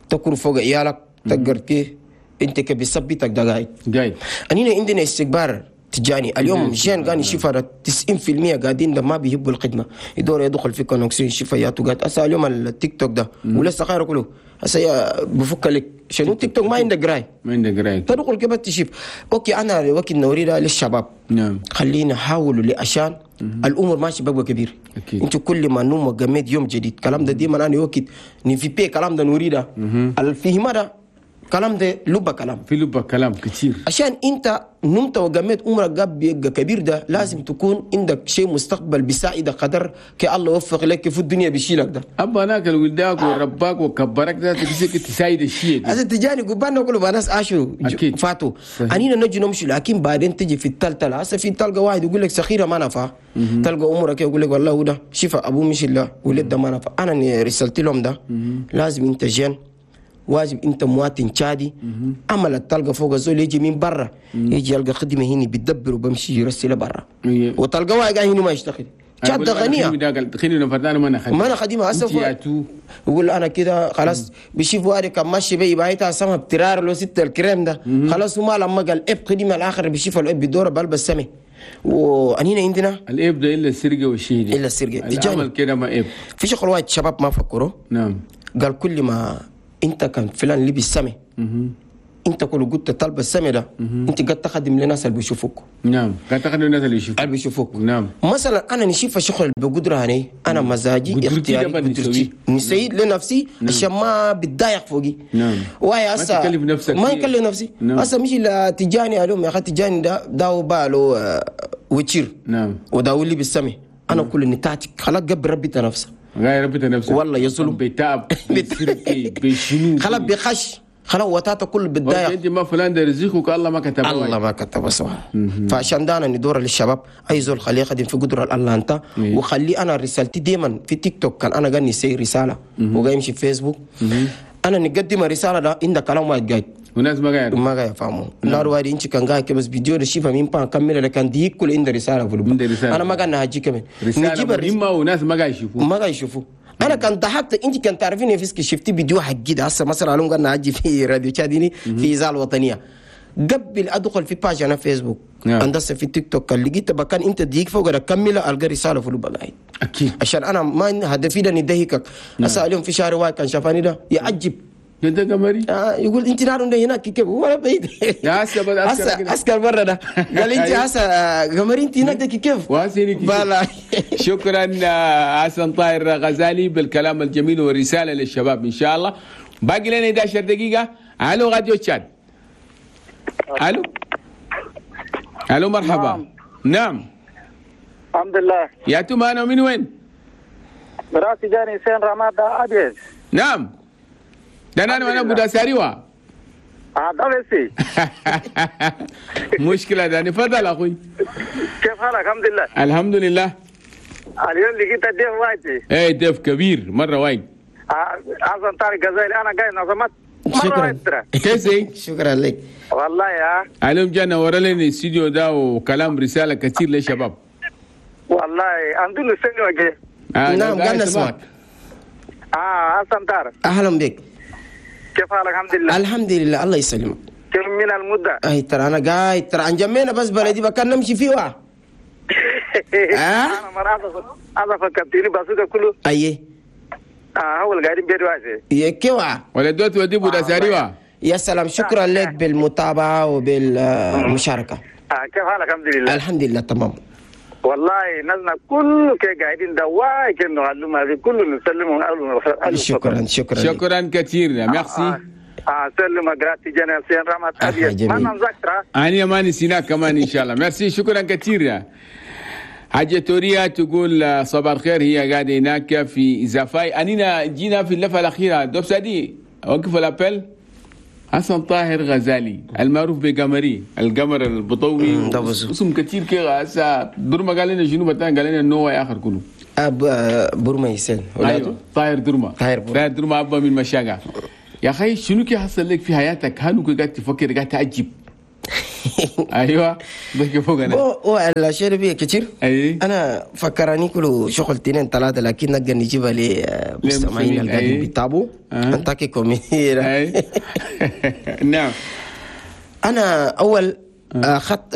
[SPEAKER 2] تكون فوق عيالك تقدر كي انت كبيثبتك ده قاعد
[SPEAKER 1] قاعد.
[SPEAKER 2] انينا عندنا استكبار تجاني اليوم jeune قاعد يشوف تسعين بالمية قاعدين ده ما بيحبوا الخدمة، يدور يدخل في connexion يشوف ياتو قاعد. هسه اليوم التيك توك ده ولسه خير كله هسه بفك لك شنو تيك توك ما عندك قراي
[SPEAKER 1] ما عندك قراي
[SPEAKER 2] تدخل كيف تشوف. okay انا وقت نوري ده للشباب
[SPEAKER 1] نعم
[SPEAKER 2] خلينا نحاولوا لعشان الامور ماشي بقى كبير. انت كل ما نوم وقمت يوم جديد كلام ده ديما انا وقت نفي بي كلام ده نوري ده الفهم ده كلام ده لبة كلام
[SPEAKER 1] في لبة كلام كتير.
[SPEAKER 2] عشان انت نمت وقمت عمرك قاب بيبقى كبير ده لازم تكون عندك شيء مستقبل بيساعدك قدر كي الله يوفق لك في الدنيا بيشيلك ده.
[SPEAKER 1] ابا هناك الولداك ورباك وكبرك ده تمسك تساعد الشيء.
[SPEAKER 2] هذا تجاني قبانا كله ناس عاشوا فاتوا انينا نجي نمشي، لكن بعدين تجي في التلتلة. هسه في تلقى واحد يقول لك سخيره ما نفع، تلقى عمرك يقول لك والله ده شفا ابوه مش الله ولد ده ما نفع. انا رسلت لهم ده لازم انت jeune واجب انت مواطن تشادي عمل تلقى فوق الزول يجي من برا يجي يلقى خدمة هنا بيدبر وبمشي يرسله برا وتلقى واحد قاعد هنا ما يشتغل. تشاد غنية ما انا خدمة هسه يقول انا كده خلاص بيشوف واحد كان ماشي بي بايتها سما بترار له ستة الكريم ده خلاص وما لما قال اب خدمة الاخر بيشوف الاب بيدور بلبس سمي. وانينا عندنا
[SPEAKER 1] الاب ده الا السرقة والشيء
[SPEAKER 2] الا السرقة
[SPEAKER 1] العمل كده ما اب
[SPEAKER 2] في شغل واحد شباب ما فكروا.
[SPEAKER 1] نعم
[SPEAKER 2] قال كل ما انت كان فلان لبس سمي انت كل قلت طلب السمي ده انت قد تخدم لناس اللي بيشوفوك.
[SPEAKER 1] نعم قد تخدم للناس اللي يشوفوك
[SPEAKER 2] اللي بيشوفوك.
[SPEAKER 1] نعم
[SPEAKER 2] مثلا انا نشوف شغل بقدره هني انا مزاجي اختياري قدرتي نسيد لنفسي عشان ما بتضايق فوقي.
[SPEAKER 1] نعم
[SPEAKER 2] وهي هسه
[SPEAKER 1] ما تكلف نفسك
[SPEAKER 2] ما نكلف نفسي. هسه مش تجاني اليوم يا اخي تجاني ده داو باله وتشير.
[SPEAKER 1] نعم
[SPEAKER 2] وداو اللي بالسمي انا كل نتاعتك خلاص قبل ربي نفسه
[SPEAKER 1] غير ربي نفسه
[SPEAKER 2] والله يظلم
[SPEAKER 1] بتعب بسرقي بشنو
[SPEAKER 2] خلاص بيخش خلاص وتاته كل بتضايق.
[SPEAKER 1] انت ما فلان ده رزقك الله ما كتبه
[SPEAKER 2] الله ما كتبه صح. فعشان ده انا ندور للشباب اي زول خليه يخدم في قدره الله انت وخلي انا رسالتي ديما في تيك توك كان انا قاعد نسي رسالة وقاعد يمشي في فيسبوك انا نقدم رسالة ده عندك كلام واحد قاعد
[SPEAKER 1] وناس ما قاعد
[SPEAKER 2] ما قاعد يفهموا نار واحد انت كان قاعد بس فيديو ده شيفا مين بان كمل لكن دي كل عند رسالة في انا ما قاعد نهجي كمان
[SPEAKER 1] نجيب الرسالة وناس ما قاعد يشوفوا
[SPEAKER 2] ما قاعد يشوفوا. انا كان ضحكت انت كان تعرفيني فيسك شفتي فيديو حقي ده هسه مثلا علوم قاعد نهجي في راديو تشاديني في اذاعة الوطنية قبل ادخل في page انا فيسبوك هندسة في تيك توك كان لقيت بكان انت ديك فوق اكمل القى رسالة في البقايد
[SPEAKER 1] اكيد
[SPEAKER 2] عشان انا ما هدفي ده ندهكك. هسه اليوم في شهر واحد كان شافاني ده يعجب
[SPEAKER 1] انت قمري
[SPEAKER 2] آه يقول انت نار ده هناك كيف ولا بعيد
[SPEAKER 1] يا هسه
[SPEAKER 2] هسه عسكر برا ده قال انت هسه قمري انت هناك كيف
[SPEAKER 1] بلا. شكرا حسن طاهر غزالي بالكلام الجميل والرسالة للشباب ان شاء الله. باقي لنا احدى عشرة دقيقة. الو راديو تشاد. الو الو مرحبا. نعم, نعم.
[SPEAKER 6] الحمد لله
[SPEAKER 1] يا توما انا من وين؟
[SPEAKER 6] براسي جاني سين رماد ابيض.
[SPEAKER 1] نعم ده انا انا ابو داساريوا.
[SPEAKER 6] اه
[SPEAKER 1] مشكلة ده. تفضل اخوي
[SPEAKER 6] كيف حالك؟ الحمد لله
[SPEAKER 1] الحمد لله.
[SPEAKER 6] اليوم لقيت ضيف وايد.
[SPEAKER 1] ايه ضيف كبير مرة وايد.
[SPEAKER 6] حسن طارق غزالي انا جاي نظمت
[SPEAKER 2] شكرا
[SPEAKER 1] كيف
[SPEAKER 2] شكرا لك
[SPEAKER 6] والله يا
[SPEAKER 1] اليوم جانا ورا لنا الاستوديو ده وكلام رسالة كثير للشباب
[SPEAKER 6] والله عندنا سنة وجه.
[SPEAKER 2] آه نعم قالنا اسمك.
[SPEAKER 6] اه حسن طارق
[SPEAKER 2] اهلا بك
[SPEAKER 6] كيف حالك؟ الحمد لله
[SPEAKER 2] الحمد لله الله يسلمك.
[SPEAKER 6] كم من المدة؟
[SPEAKER 2] اي ترى انا قاعد ترى انجمينا بس بلدي بكان نمشي فيه وا.
[SPEAKER 6] اه انا مرة انا فكرتني بس كله.
[SPEAKER 2] اي
[SPEAKER 6] اه هو اللي قاعدين بيد واسي.
[SPEAKER 2] يا كيوا
[SPEAKER 1] ولا دوت ودي بودا ساريوا.
[SPEAKER 2] يا سلام شكرا لك بالمتابعة وبالمشاركة.
[SPEAKER 6] آه كيف حالك؟ الحمد لله
[SPEAKER 2] الحمد لله تمام.
[SPEAKER 6] والله نزلنا كله كي قاعدين دواي كأنه علمنا هذه كله نسلمهم أول
[SPEAKER 2] شكرا شكرا
[SPEAKER 1] شكرا كثير ميرسي.
[SPEAKER 6] آه آه سلم جراتي جنال سين رحمة أبيض ما نذكر
[SPEAKER 1] أنا ما نسيناك كمان إن شاء الله. ميرسي شكرا كثير. حاجة توريا تقول صباح الخير هي قاعدة هناك في زفاي. أنينا جينا في اللفة الأخيرة دوب سادي وقف ال appel. حسن طاهر غزالي المعروف بقمري القمر البطوي اسم كثير كده. هسه در ما قال لنا شنو بتان قال لنا انه هو اخر كله.
[SPEAKER 2] أب برما يسن.
[SPEAKER 1] ايوه طاير درما.
[SPEAKER 2] طاير برما.
[SPEAKER 1] طاير درما ابا من مشاقة. يا اخي شنو كي حصل لك في حياتك؟ هل قاعد تفكر قاعد تعجب؟ ايوه ضحك فوق انا.
[SPEAKER 2] هو الاشياء بيه كتير.
[SPEAKER 1] اي
[SPEAKER 2] انا فكراني كله شغل اثنين ثلاثة، لكن نقدر نجيبها للمستمعين اللي قاعدين بيتابعوا انت كوميدي.
[SPEAKER 1] اي نعم.
[SPEAKER 2] انا اول اخذت